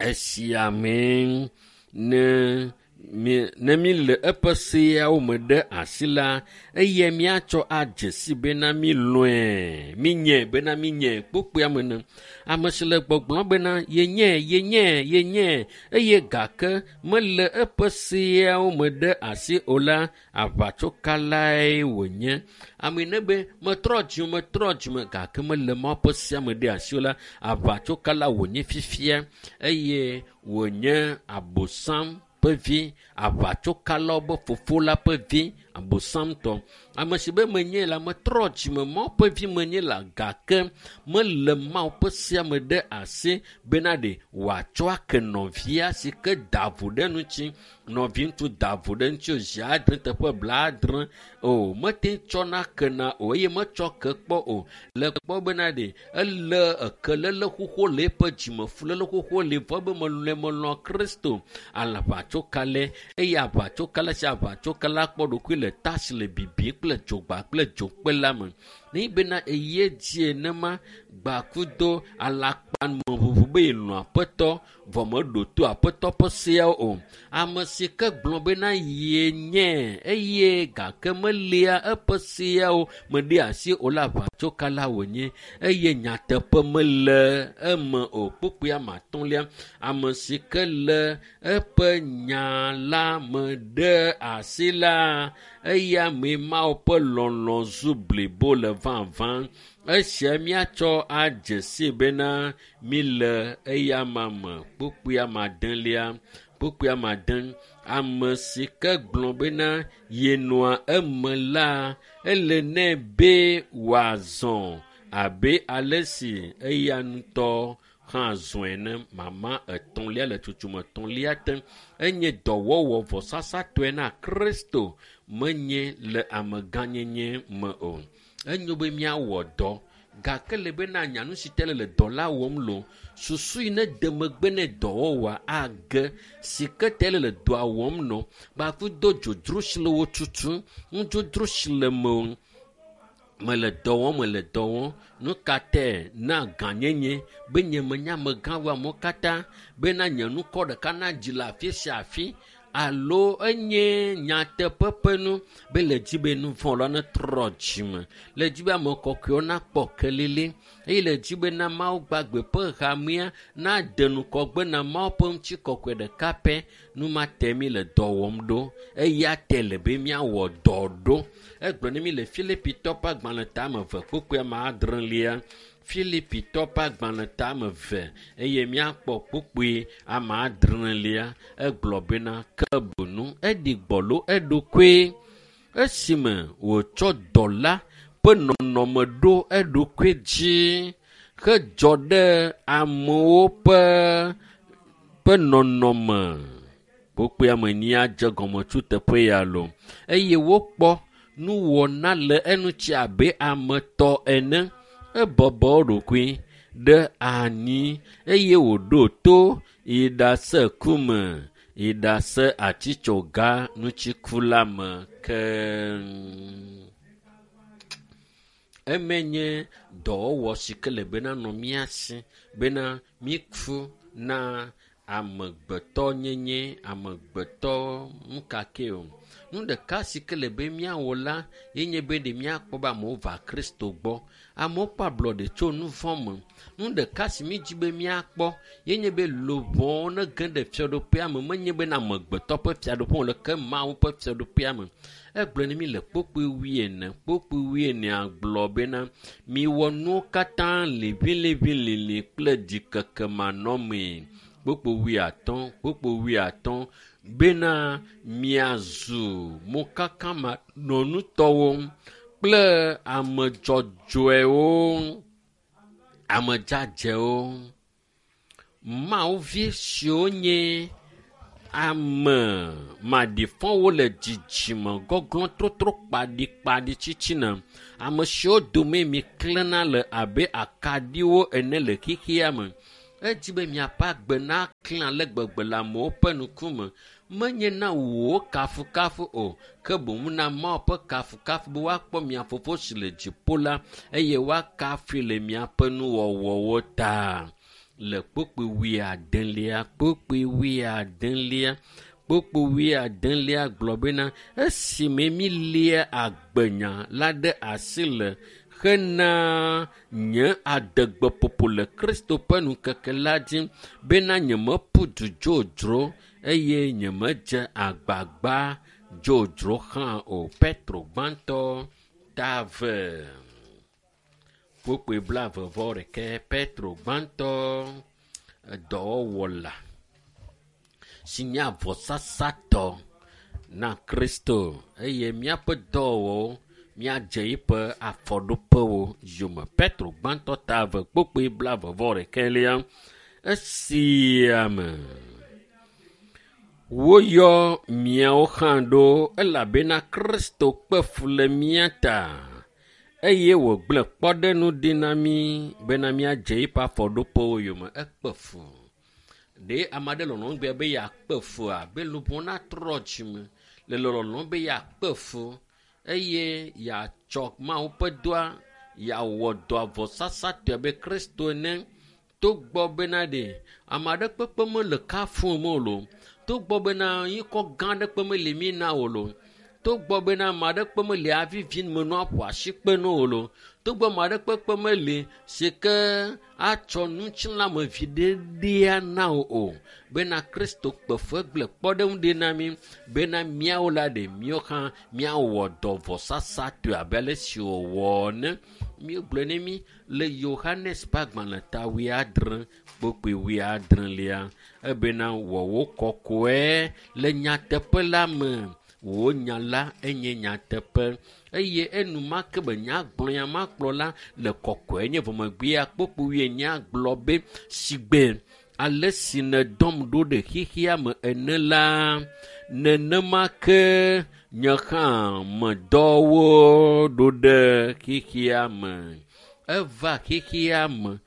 Esia mee ne mi ne mi le eƒe seawo me ɖe asi la, eye míatsɔ adze si bena mílɔ̃e, mínyɛ bena mínyɛ kpokpuia me ne. Ame si le gbɔgblɔm bena yenye, yenye, yenye eye gake mele eƒe seawo me ɖe asi o la, aʋatsokalae wònye. Ame ne be metrɔ dzime, metrɔ dzime gake mele Mawu ƒe sea me ɖe asi o la, aʋatsokala wònye fifia eye wònye abosam ƒe vi, aʋatsokalawo be fofo la ƒe vi, abosamtɔ. Ame si be menye la, metrɔ dzime, Mawu ƒe vi menye la gake mele Mawu ƒe sea me ɖe asi bena ɖe wòatsɔ ake nɔvia si ke da vo ɖe ŋuti. Nɔviŋutsu da vo ɖe ŋuti o zi adre teƒe blaadre o, mete tsɔna kena o eye metsɔ ke kpɔ o. Le kpɔ bena ɖe ele ekelele xoxo le eƒe dzime, fuléle xoxo le vɔ be melɔ̃e melɔ̃ Kristo. Alaʋatsokalɛ eye aʋatsokala sia aʋatsokala kpɔ ɖokui le tasi le bibi kple dzogba kple dzokpe la me. Ne bena eye dzi enema gbakudo alakpameʋuʋu be yelɔ̃ aƒetɔ vɔ meɖo to aƒetɔ ƒe seawo o. Ame si ke gblɔ bena yenye eye gake melia eƒe seawo me ɖe asi o la, aʋatsokala wònye eye nyateƒe mele eme o. Kpukpui ame atɔ̃lia, ame si ke le eƒe nya la me ɖe asi la, eya mee Mawu ƒe lɔlɔ̃ zu blibo le vavã. Esia míatsɔ adze si bena míle eyama me. Kpukpui ame adelia, kpukpui ame ade, ame si ke gblɔ bena yenɔa eme la, ele nɛ be wòazɔ abe ale si eya ŋutɔ hã zɔe ene. Mama etɔ̃lia le tsotso etɔ̃lia te enye dɔwɔwɔ vɔsasatɔe na Kristo, menye le amegãnyenye me o. Enyo be míawɔ dɔ gake le bena nya nu si te le le dɔ la wɔm lo, susu yi ne de megbe ne dɔwɔwɔa age si ke te le le dɔa wɔm nɔ gbakudo dzodzro si le wo tutum, nudzodzro si le me mele dɔ wɔm, mele dɔ wɔm. Nu ka tae na gãnyenye be nye menya amegã wo amewo katã bena nye nukɔ ɖeka nadzi le afi sia afi alo enye nyateƒe ƒe nu be le dzi be nu vɔ̃ la netrɔ dzime, le dzi be ame kɔkɔewo nakpɔ kelili eye le dzi be na Mawu gbagbe ƒe hamea nade nukɔgbe na Mawu ƒe ŋutikɔkɔe ɖeka pɛ. Nu ma te mi le dɔ wɔm ɖo, eya te le be míawɔ dɔ ɖo. Egblɔ ne mi le Filipitɔ ƒe agbalẽ tame eve kpukpui ame adrelia. Filipitɔ ƒe agbalẽ tame eve eye míakpɔ kpukpui ame adrelia. Egblɔ bena ke bunu eɖi gbɔlo eɖokui esime wòtsɔ dɔla ƒe nɔnɔme ɖo eɖokui dzi hedzɔ ɖe amewo ƒe ƒe nɔnɔme. Kpukpui ame enyia dze gɔme tso teƒe ya lo eye wokpɔ nuwɔna le eŋuti abe ame tɔ ene. Ebɔbɔ eɖokui ɖe anyi eye wòɖo to yi ɖase ku me, yi ɖase atitsoga ŋutiku la me ke. Eme nye dɔwɔwɔ si ke le bena nɔ mía si bena míku na amegbetɔnyenye, amegbetɔ nukake o. Nu ɖeka si ke le be míawɔ la ye nye be ɖe míakpɔ be amewo va Kristo gbɔ. Amewo kpɔ ablɔɖe tso nu vɔ̃ me. Nu ɖeka si mídzi be míakpɔ ye nye be luʋɔwo nege ɖe fiaɖuƒea me, menye bena amegbetɔ ƒe fiaɖuƒe o le ke Mawu ƒe fiaɖuƒea me. Egblɔ ne mi le kpukpui wuiene, kpukpui wuienea gblɔ bena miwɔ nuwo katã liʋiliʋilili kple ɖikeke manɔmee. Kpukpui wuiatɔ̃, kpukpui wuiatɔ̃ bena miazu mokakamanɔnutɔwo kple ame dzɔdzɔewo, ame dzadzewo, Mawuvi siwo nye ame maɖifɔwo le dzidzime gɔglɔ̃ trotro kpaɖikpaɖi tsitsina. Ame siwo dome mi klẽna le abe akaɖiwo ene le xexea me. Edzi be miaƒe agbe naklẽ ale gbegbe le amewo ƒe ŋkume. Menye na wò kafukafu o, ke boŋ na Mawu ƒe kafukafu be woakpɔ mia fofo si le dziƒo la eye woakafui le miaƒe nuwɔwɔwo ta. Le kpukpui wuiadelia, kpukpui wuiadelia, kpukpui wuiadelia gblɔ bena esime mília agbenya la ɖe asi le hena nye adegbeƒoƒo le Kristo ƒe ŋkeke la dzi bena nyemeƒu du dzodzro eye nyemedze agbagba dzodzro hã o. Petro gbãtɔ ta eve. Kpukpui blaeve vɔ ɖeke. Petro gbãtɔ dɔwɔwɔla si nye avɔsasatɔ na Kristo eye míaƒe dɔwɔwɔwo míadze eƒe afɔɖoƒewo yome. Petro gbãtɔ ta eve kpukpui blaeve vɔ ɖekɛlia. Esia me woyɔ miawo hã ɖo elabena Kristo kpe fu le mía ta eye wògblẽ kpɔɖeŋu ɖi na mí bena míadze eƒe afɔɖoƒewo yome. Ekpe fu. Ɖe ame aɖe lɔlɔ̃m gbe be yeakpe fua be luʋɔ natrɔ dzime le lɔlɔ̃m be yeakpe fu eye yeatsɔ Mawu ƒe dɔa yeawɔ dɔ avɔsasatɔe abe Kristo ene. Togbɔ bena ɖe ame aɖe kpekpe mele kafum o loo, togbɔ bena ŋkɔ gã aɖe kpe meli mí na o loo, togbɔ bena ame aɖe kpe meli avivi me nua ƒo asi kpe na o loo, togbɔ ame aɖe kpekpe meli si ke atsɔ ŋutilãme viɖe ɖea na wò o bena Kristo kpe fu egblẽ kpɔɖeŋu ɖi na mí bena míawo la ɖe míawo hã míawɔ dɔ vɔsasatɔe abe ale si wòwɔ ene. Míegblɔe ne mí le Yohanes ƒe agbalẽ ta wuiadre kpukpui wuiadrelia ebena wɔ wò kɔkɔe le nyateƒe la me. Wò nya la enye nyateƒe eye enumake be nyagblɔ ya makplɔ la le kɔkɔe nye vɔmegbea kpukpui wuienyi gblɔ be sigbe ale si nèdɔm ɖo ɖe xexea me ene la nenema ke nye hã medɔ wo ɖo ɖe xexea me. Eva xexea me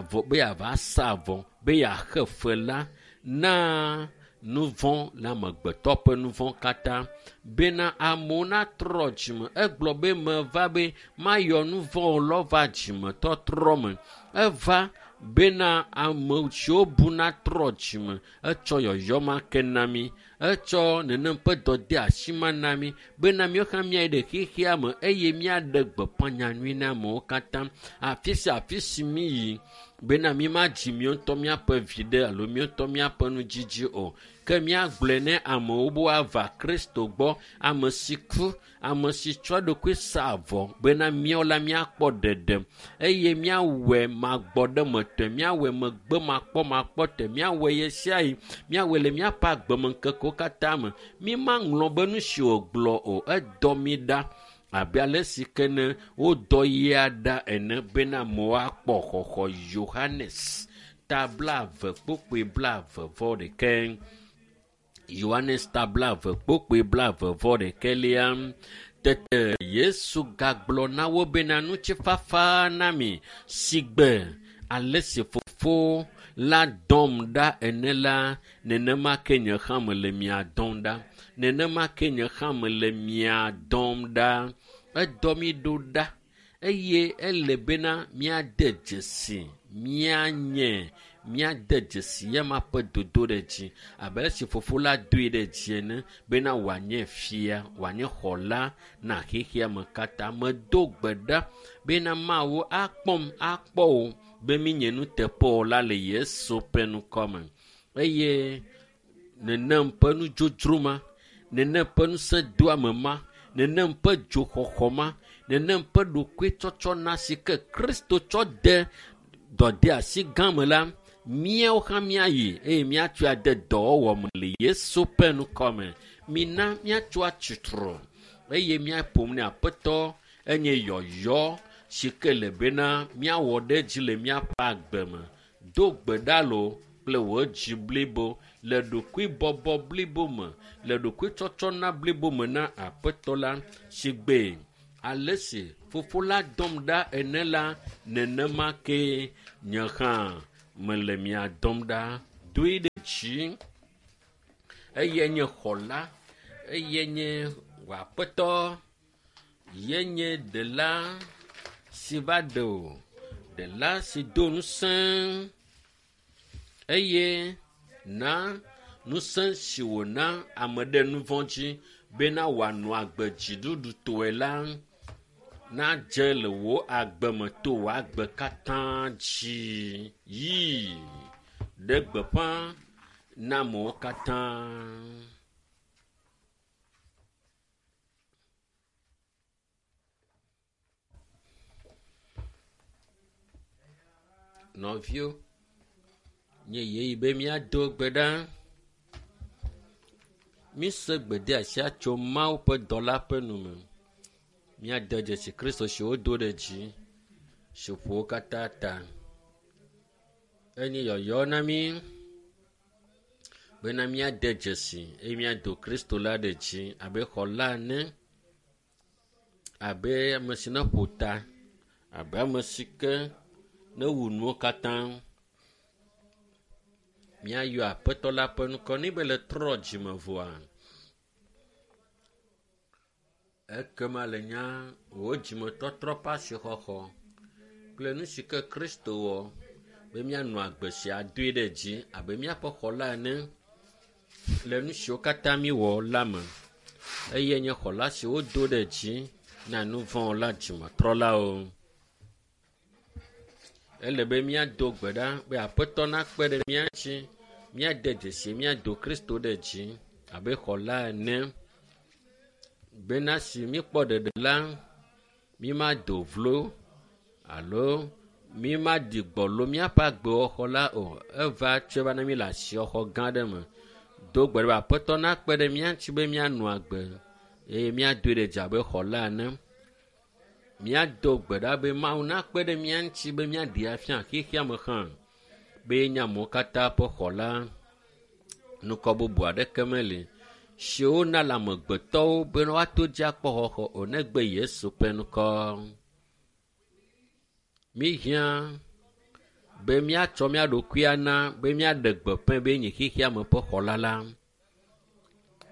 vɔ be yeava sa avɔ be yeaxe fe la na nuvɔ̃ le amegbetɔ ƒe nuvɔ̃ katã bena amewo natrɔ dzime. Egblɔ be meva be mayɔ nuvɔ̃wo lɔ va dzimetɔtrɔ me. Eva bena ame siwo bu natrɔ dzime. Etsɔ yɔyɔ ma ke na mí. Etsɔ nenem ƒe dɔdeasi ma na mí bena míawo hã míayi ɖe xexea me eye míaɖe gbeƒã nyanyui na amewo katã. Afi sia afi si míyi bena mímadzi míawo ŋutɔ míaƒe viɖe alo míawo ŋutɔ míaƒe nudzidzi o ke míagblɔe ne amewo be woava Kristo gbɔ, ame si ku, ame si tsɔ eɖokui sa avɔ bena míawo la míakpɔ ɖeɖe eye míawɔe magbɔɖemetɔe, míawɔe megbe makpɔmakpɔtɔe, míawɔe ɣe sia ɣi, míawɔe le míaƒe agbemeŋkekewo katã me. Mímaŋlɔ be nu si wògblɔ o, edɔ mí ɖa abe ale si ke ne wodɔ yia ɖa ene bena amewo akpɔ xɔxɔ. Yohanes ta blaeve kpukpui blaeve vɔ ɖeke. Yohanes ta blaeve kpukpui blaeve vɔ ɖekɛlia. Tete Yesu gagblɔ na wo bena ŋutifafa na mi sigbe ale si fofo la dɔm ɖa ene la nenema ke nye hã mele mia dɔm ɖa. Nenema ke nye hã mele mia dɔm ɖa. Edɔ mí ɖo ɖa eye ele bena míade dzesi míanye míade dzesi ya ma ƒe dodo ɖe dzi abe ale si fofo la doe ɖe dzi ene bena wòanye fia, wòanye xɔla na xexea me katã. Medo gbe ɖa bena Mawu akpɔm akpɔ wò be mínye nuteƒewɔla le Yesu ƒe ŋkɔ me eye nenem ƒe nudzodzro ma, nenem ƒe ŋusẽdoame ma, nenem ƒe dzoxɔxɔ ma, nenem ƒe ɖokuitsɔtsɔ na si ke Kristo tsɔ de dɔdeasi gã me la, míawo hã míayi eye míatsɔe ade dɔwɔwɔ me le Yesu ƒe ŋkɔ me. Mina míatso atsitre eye míaƒom ne Aƒetɔ Enye yɔyɔ si ke le bena míawɔ ɖe edzi le míaƒe agbe me. Do gbe ɖa loo kple wò dzi blibo le ɖokuibɔbɔ blibo me, le ɖokuitsɔtsɔna blibo me na Aƒetɔ la si gbe ale si fofo la dɔm ɖa ene la, nenema ke nye hã mele mia dɔm ɖa. Doe ɖe dzi. Eye nye xɔla, eye nye wò Aƒetɔ, ye nye ɖela si va ɖe wò, ɖela si do ŋusẽ eye na ŋusẽ si wòna ame ɖe nu vɔ̃ dzi bena wòanɔ agbe dziɖuɖutɔe la nadze le wò agbe me to wò agbe katã dzi. Yi ɖe gbeƒã na amewo katã. Nɔviwo, nye yeyi be míado gbe ɖa. Míse gbedeasia tso Mawu ƒe dɔla ƒe nu me. Míade dzesi Kristo si wodo ɖe dzi, si ƒo wo katã ta. Enye yɔyɔ na mí bena míade dzesi eye míado Kristo la ɖe dzi abe xɔla ene, abe ame si ne ƒo ta, abe ame si ke ne wu nuwo katã. Míayɔ Aƒetɔ la ƒe ŋkɔ ne be le trɔ dzime vɔa. Ekema le nya wò dzimetɔtrɔ ƒe asixɔxɔ kple nu si ke Kristo wɔ be míanɔ agbe sia doe ɖe dzi abe míaƒe xɔla ene le nu siwo katã míwɔ la me. Eye nye xɔla si wodo ɖe dzi na nu vɔ̃ la dzimetrɔlawo. Ele be míado gbe ɖa be Aƒetɔ nakpe ɖe mía ŋuti, míade dzesi míado Kristo ɖe dzi abe xɔla ene bena si míkpɔ ɖeɖe la, mímado vlo alo mímaɖi gbɔlo míaƒe agbewɔxɔ la o. Eva tsɔe va na mí le asiɔxɔ gã aɖe me. Do gbe ɖa be Aƒetɔ nakpe ɖe mía ŋuti be míanɔ agbe eye míadoe ɖe dzi abe xɔla ene. Míado gbe ɖa be Mawu nakpe ɖe mía ŋuti be míaɖee afia xexea me hã be yenye amewo katã ƒe xɔla. Nukɔ bubu aɖeke meli si wona le amegbetɔwo be woato dzi akpɔ xɔxɔ o negbe Yesu ƒe ŋkɔ. Míhiã be míatsɔ mía ɖokui ana be míaɖe gbeƒã be yenye xexea me ƒe xɔla la.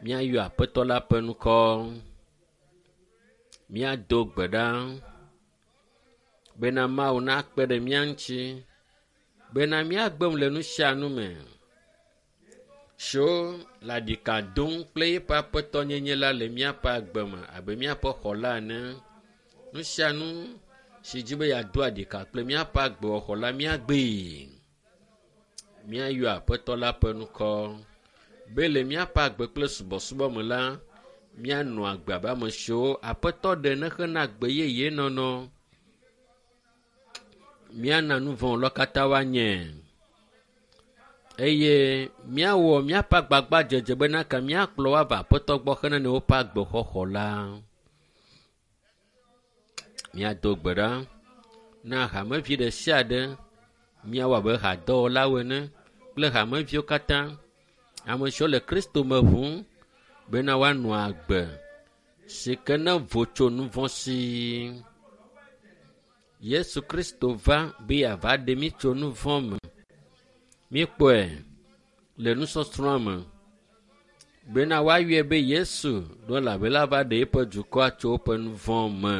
Míayɔ Aƒetɔ la ƒe ŋkɔ. Míado gbe ɖa bena Mawu nakpe ɖe mía ŋuti bena míagbe nu le nu sia nu me siwo le aɖika dom kple eƒe aƒetɔnyenye la le míaƒe agbe me abe míaƒe xɔla ene. Nu sia nu si dzi be yeado aɖika kple míaƒe agbewɔxɔ la míagbee. Míayɔ Aƒetɔ la ƒe ŋkɔ be le míaƒe agbe kple subɔsubɔ me la, míanɔ agbe abe ame siwo Aƒetɔ ɖe ne hena agbe yeye nɔnɔ. Míana nu vɔ̃ katã woanye eye míawɔ míaƒe agbagbadzedze bena ka míakplɔ wo ava Aƒetɔ gbɔ hena ne woƒe agbexɔxɔ la. Míado gbe ɖa na hamevi ɖe sia ɖe míawɔ abe hadɔwɔlawo ene kple hameviwo katã, ame siwo le Kristo me ʋum bena woanɔ agbe si ke ne vo tso nu vɔ̃ si. Yesu Kristo va be yeava ɖe mí tso nu vɔ̃ me. Míekpɔe le nusɔsrɔ̃a me bena woayɔe be Yesu ɖo elabena ava ɖe eƒe dukɔa tso woƒe nu vɔ̃ me.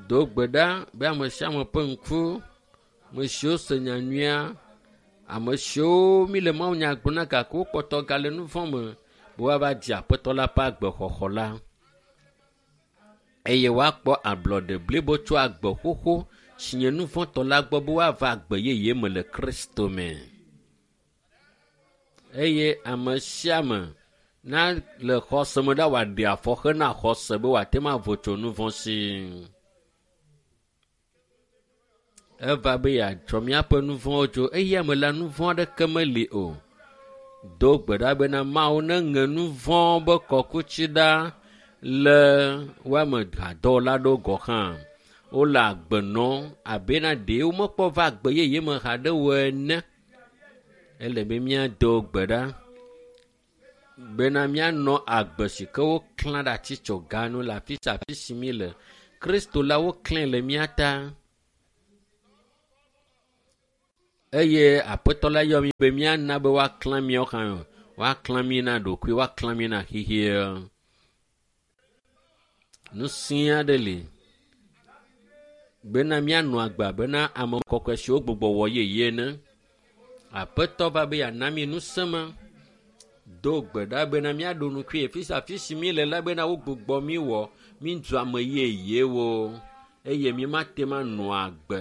Do gbe ɖa be ame sia ame ƒe ŋku, ame siwo se nya nyuia, ame siwo míle mawunya gblɔm na gake wokpɔtɔ gale nu vɔ̃ me be woava dze Aƒetɔ la ƒe agbexɔxɔ la eye woakpɔ ablɔɖe blibo tso agbe xoxo si nye nu vɔ̃tɔ la gbɔ be woava agbe yeye me le Kristo me. Eye ame sia ame na le xɔse me ɖa wòaɖe afɔ hena xɔse be wòate ŋu avo tso nu vɔ̃ si. Eva be yeatsɔ míaƒe nu vɔ̃wo dzo eye ame la nu vɔ̃ aɖeke meli o. Do gbe ɖa bena Mawu neŋe nu vɔ̃ be kɔkutsi ɖa Le woame hadɔwɔla aɖewo gɔ hã wole agbe nɔm abena ɖe womekpɔ va agbe yeye me haɖe o ene. Ele be míado gbe ɖa bena míanɔ agbe si ke woklã ɖe atitsoga nu le afi sia afi si mí le. Kristo la woklãe le mía ta. Eye aƒetɔ la yɔ mí be míana be woaklã míawo hã woaklã mí na ɖokui woaklã mí na xexea. Ŋusẽ aɖe li bena míanɔ agbe bena ame kɔkɔe siwo gbugbɔ wɔ yeye ene. Aƒetɔ va be yeana mí ŋusẽ ma. Do gbe ɖa bena míaɖo nukui afi sia afi si míle la bena wogbugbɔ mí wɔ mí zu ame yeyewo eye mímate ŋu anɔ agbe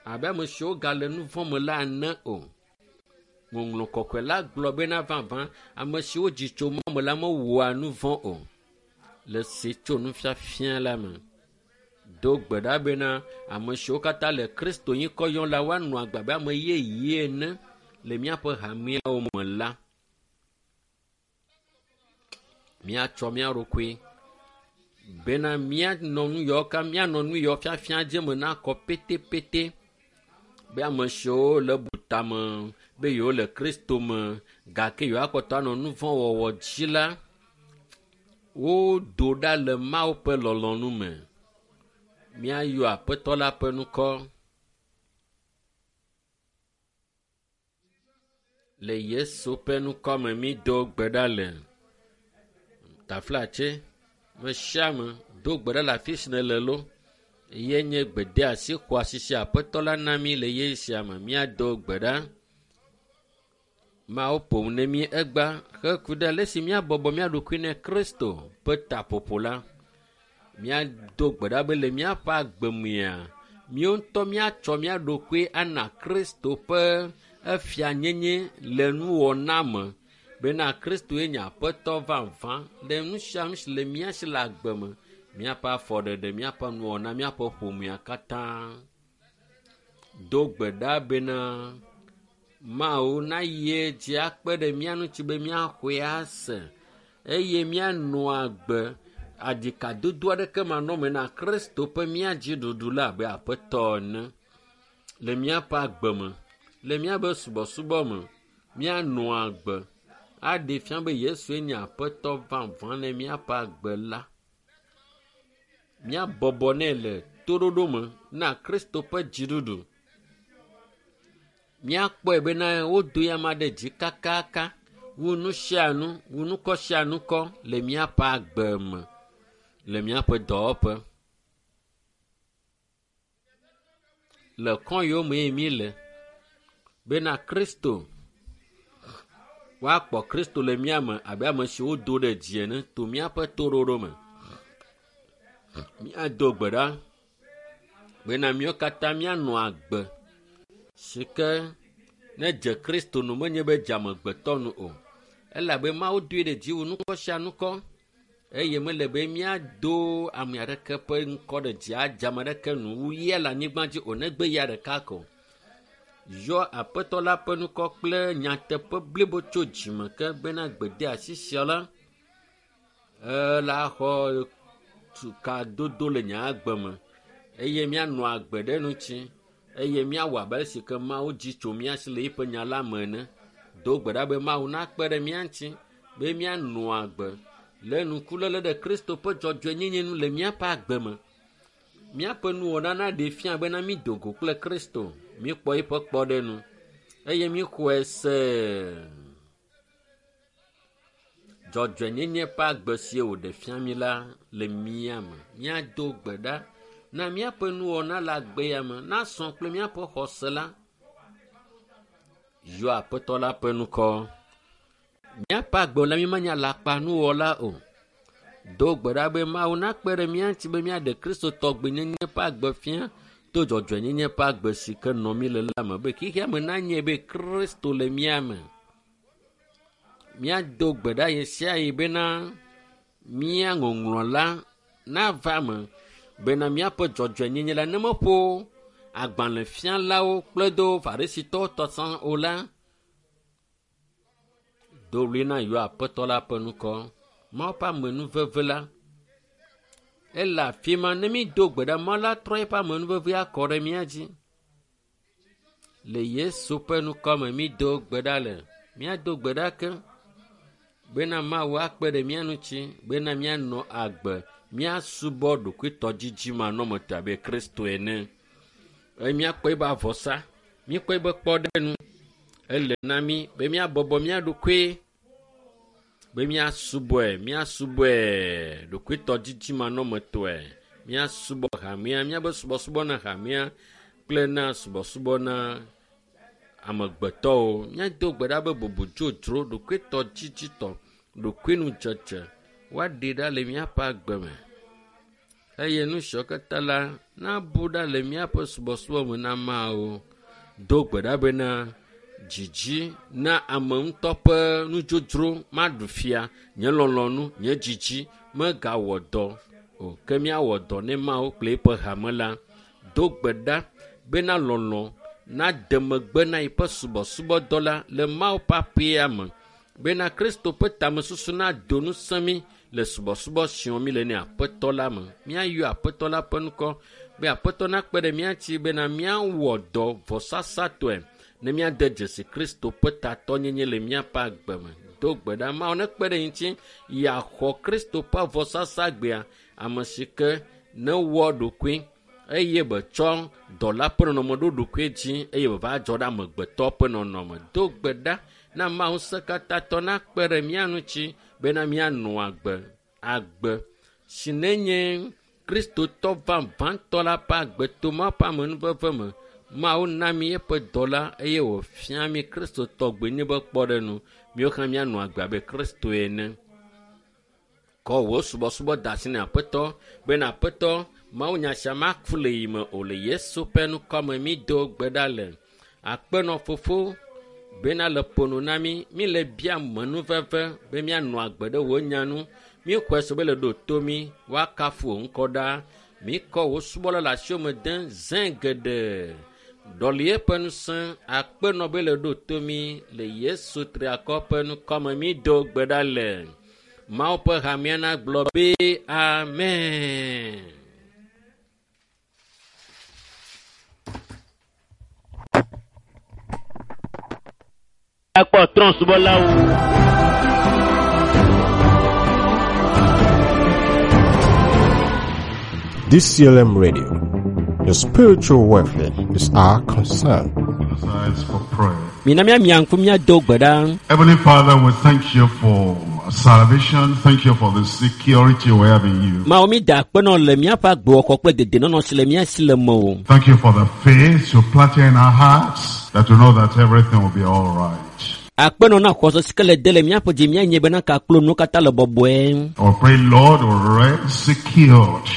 abe ame siwo gale nu vɔ̃ me la ene o. Ŋɔŋlɔ kɔkɔe la gblɔ bena vavã ame siwo dzi tso mɔ me la mewɔa nu vɔ̃ o. Le si tso nufiafia la me. Do gbe ɖa bena ame siwo katã le Kristo ŋkɔ yɔm la woanɔ agbe abe ame yeye ene le míaƒe hameawo me la. Míatsɔ mía ɖokui bena míanɔ nu yawo ka míanɔ nu yawo fiafia dzi me nakɔ petepete be ame siwo le butame be yewo le Kristo me gake yewoakpɔtɔ anɔ nu vɔ̃ wɔwɔ dzi la wodo ɖa le Mawu ƒe lɔlɔ̃nu me. Míayɔ aƒetɔ la ƒe ŋkɔ le Yesu ƒe ŋkɔ me mído gbe ɖa le. Taflatse, me sia ame do gbe ɖa le afi si nèle lo. Ye nye gbedeasi xɔasi si aƒetɔ la na mí le ye sia me. Míado gbe ɖa. Mawu ƒom ne mí egbea heku ɖe ale si míabɔbɔ mía ɖokui ne Kristo ƒe taƒoƒo la. Míado gbe ɖa be le míaƒe agbe mea, míawo ŋutɔ míatsɔ mía ɖokui ana Kristo ƒe efianyenye le nuwɔna me bena Kristoe nye aƒetɔ vavã le nu sia nu si le mía si le agbe me, míaƒe afɔɖeɖe, míaƒe nuwɔna, míaƒe ƒomea katã. Do gbe ɖa bena Mawu nayi edzi akpe ɖe mía ŋuti be míaxɔe ase eye míanɔ agbe aɖikadodo aɖeke manɔme na Kristo ƒe mía dziɖuɖu la abe aƒetɔ ene le míaƒe agbe me, le míaƒe subɔsubɔ me, míanɔ agbe aɖee fia be Yesue nye aƒetɔ vavã le míaƒe agbe la. Míabɔbɔ nɛ le toɖoɖo me na Kristo ƒe dziɖuɖu. Míakpɔe bena wodo ya ma ɖe dzi kakaka wu nu sia nu, wu nukɔ sia nukɔ le míaƒe agbe me, le míaƒe dɔwɔƒe. Le kɔ yiwo mee míle bena Kristo woakpɔ Kristo le mía me abe ame si wodo ɖe dzi ene to míaƒe toɖoɖo me. Míado gbe ɖa bena míawo katã míanɔ agbe si ke ne dze Kristo nu menye be dze amegbetɔ nu o. Elabe Mawu doe ɖe dzi wu nukɔ sia nukɔ eye mele be míado ame aɖeke ƒe ŋkɔ ɖe dzi adze ame aɖeke nu wu ya le anyigba dzi o negbe ya ɖeka ko. Yɔ aƒetɔ la ƒe ŋkɔ kple nyateƒe blibo tso dzime ke bena gbedeasi sia la ela xɔ tukadodo le nye agbe me eye míanɔ agbe ɖe ŋuti eye míawɔ abe ale si ke Mawu dzi tso mía si le eƒe nya la me ene. Do gbe ɖa be Mawu nakpe ɖe mía ŋuti be míanɔ agbe le ŋkuléle ɖe Kristo ƒe dzɔdzɔenyenye nu le míaƒe agbe me. Míaƒe nuwɔna naɖee fia bena mído go kple Kristo, míekpɔ eƒe kpɔɖeŋu eye míexɔe se. Dzɔdzɔenyenye ƒe agbe si wòɖe fia mí la le mía me. Míado gbe ɖa na míaƒe nuwɔna le agbe ya me nasɔ kple míaƒe xɔse la. Yɔ aƒetɔ la ƒe ŋkɔ. Míaƒe agbe la mímanye alakpanuwɔla o. Do gbe ɖa be Mawu nakpe ɖe mía ŋuti be míaɖe Kristo tɔgbenyenye ƒe agbe fia to dzɔdzɔenyenye ƒe agbe si ke nɔ mí le la me be xexea me nanye be Kristo le mía me. Míado gbe ɖa ɣe sia ɣi bena mía ŋɔŋlɔ la nava eme bena míaƒe dzɔdzɔenyenye la ne meƒo agbalẽfialawo kple do farisitɔwo tɔ sã o la, do ɣli na yɔ aƒetɔ la ƒe ŋkɔ. Mawu ƒe amenuveve la Ele afi ma ne mi do gbe ɖa Mawu la trɔ eƒe amenuveve akɔ ɖe mía dzi. Le Yesu ƒe ŋkɔme mi do gbe ɖa le. Míado gbe ɖa ke bena Mawu akpe ɖe mía ŋuti bena míanɔ agbe míasubɔ ɖokuitɔdzidzimanɔmetɔ abe Kristo ene. Eye míakpɔ ebe avɔsa, míakpɔ ebe kpɔɖeŋu. Ele na mí be míabɔbɔ mía ɖokui be míasubɔe, míasubɔe ɖokuitɔdzidzimanɔmetɔe. Míasubɔ hamea, míabe subɔsubɔ na hamea kple na subɔsubɔ na amegbetɔwo. Míado gbe ɖa be bubu dzodzro, ɖokuitɔdzidzitɔ, ɖokuinudzedze woaɖi ɖa le míaƒe agbe me. Eye nu siawo katã la nabu ɖa le míaƒe subɔsubɔ me na Mawu. Do gbe ɖa bena dzidzi na ame ŋutɔ ƒe nudzodzro maɖu fia nye lɔlɔ̃nu, nye dzidzi megawɔ dɔ o ke míawɔ dɔ ne Mawu kple eƒe hame la. Do gbe ɖa bena lɔlɔ̃ nade megbe na yiƒe subɔsubɔdɔ la le Mawu ƒe aƒea me bena Kristo ƒe tamesusu nado ŋusẽ mí le subɔsubɔ si wɔm míle ne Aƒetɔ la me. Míayɔ Aƒetɔ la ƒe ŋkɔ be Aƒetɔ nakpe ɖe mía ŋuti bena míawɔ dɔ vɔsasatɔe ne míade dzesi Kristo ƒe tatɔnyenye le míaƒe agbe me. Do gbe ɖa Mawu nekpe ɖe ŋuti yeaxɔ Kristo ƒe vɔsasa gbea ame si ke newɔ ɖokui eye betsɔ dɔla ƒe nɔnɔme ɖo ɖokui dzi eye wòva dzɔ ɖe amegbetɔ ƒe nɔnɔme. Do gbe ɖa na Mawu ŋusẽkatãtɔ nakpe ɖe mía ŋuti bena míanɔ agbe agbe si nenye Kristotɔ vavãtɔ la ƒe agbe to Mawu ƒe amenuveve me. Mawu na mí eƒe dɔla eye wòfia mí Kristotɔ gbenye be kpɔɖeŋu. Míawo hã míanɔ agbe abe Kristo ene. Kɔ wò subɔsubɔ da asi na Aƒetɔ bena Aƒetɔ Mawu nya sia maku le yi me o le Yesu ƒe ŋkɔme mi do gbe ɖa le. Akpenɔ fofo bena le ƒo nu na mí, mí le bia menuveve be míanɔ agbe ɖe wò nya nu. Míexɔe se be le ɖo to mí, woakafu wò ŋkɔ ɖa. Míkɔ wò subɔla le asiwò me dem zẽ geɖe. Ɖɔli eƒe ŋusẽ akpenɔ be le ɖo to mí le Yesu triakɔ ƒe ŋkɔme mi do gbe ɖa le. Mawu ƒe hamea nagblɔ be amen. Akpɔ trɔ̃subɔlawo. D C L M Radio, your spiritual welfare is our concern. Eyes for prayer. Mina míamia ŋku míado gbe ɖa. Heavenly Father, we thank you for salvation. Thank you for the security we have in you. Mawu mi da akpe nɔ le míaƒe agbewɔxɔ kple dedienɔnɔ si le mía si le mewò. Thank you for the faith you planted in our hearts that we know that everything will be all right. Akpe nɔ na xɔse si ke le de le míaƒe dzi míanye bena kaklo nuwo katã le bɔbɔe. We pray, Lord, we rest secured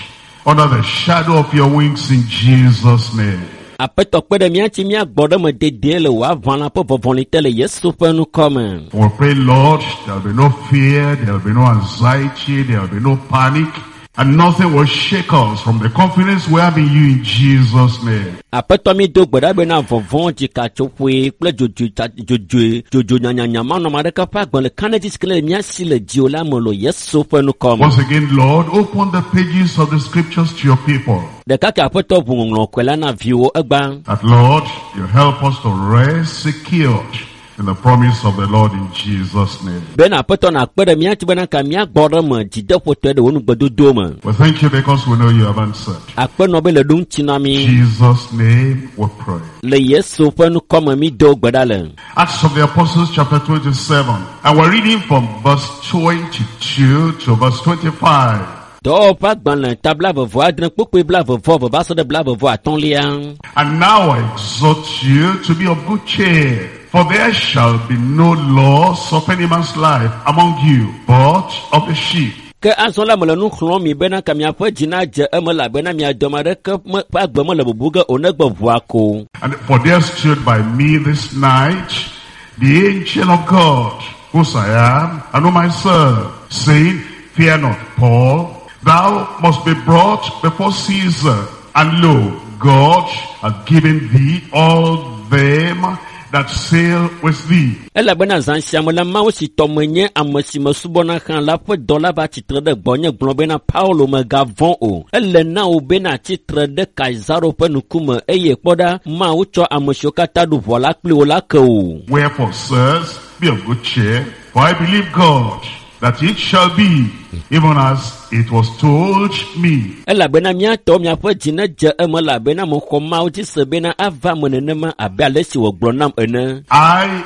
under the shadow of your wings in Jesus' name. Aƒetɔ kpe ɖe mía ŋuti míagbɔ ɖe me dedie le wò aʋalã ƒe vɔvɔli te le Yesu ƒe ŋkɔ me. We pray, Lord, there will be no fear, there will be no anxiety, there will be no panic, and nothing will shake us from the confidence we have in you in Jesus' name. Aƒetɔ mi do gbe ɖa bena vɔvɔ̃ dzikatsoƒoe kple dzodzoe tsa- dzodzoe dzodzo nyanyanya manɔme aɖeke ƒe agbe le kanedzi si ke le mía si le dziwò la me le Yesu ƒe ŋkɔ me. Once again, Lord, open the pages of the scriptures to your people. Ɖeka ke Aƒetɔ ʋu ŋɔŋlɔ kɔe la na viwò egba. That, Lord, you help us to rest secured in the promise of the Lord in Jesus' name. Bena Aƒetɔ nakpe ɖe mía ŋuti bena ka míagbɔ ɖe me dzideƒotɔe ɖe wò nugbedodo me. We thank you because we know you have answered. Akpenɔ be le ɖo ŋuti na mí. In Jesus' name we pray. Le Yesu ƒe ŋkɔ me mi do gbe ɖa le. Acts of the Apostles chapter twenty-seven. And we're reading from verse twenty-two to verse twenty-five. Dɔwɔwɔ ƒe agbalẽ ta blaeve adre kpukpui blaeve vɔ eve va se ɖe blaeve vɔ atɔ̃lia. And now I exhort you to be of good cheer, for there shall be no loss of any man's life among you, but of the sheep. Ke azɔ la mele nu xlɔ̃m mi bena ka miaƒe dzi nadze eme elabena mia dɔme aɖeke me ƒe agbe mele bubu ge o negbe ʋua ko. And for there stood by me this night the angel of God, whose I am and whom I serve, saying, Fear not, Paul, thou must be brought before Caesar. And lo, God hath given thee all them that sail with thee. Elabena zã sia me la, Mawu si tɔ menye ame si mesubɔna hã la ƒe dɔla va tsitre ɖe gbɔnye gblɔ bena Paulo mègavɔ̃ o. Ele na wò bena tsitre ɖe Kaisaro ƒe ŋkume eye kpɔ ɖa Mawu tsɔ ame siwo katã ɖu ʋɔ la kpli wò la ke wò. Wherefore, sirs, be of good cheer, for I believe God that it shall be even as it was told me. Elabena míatɔ miaƒe dzi nedze eme elabena mexɔ Mawu dzi se bena ava me nenema abe ale si wògblɔ nam ene. I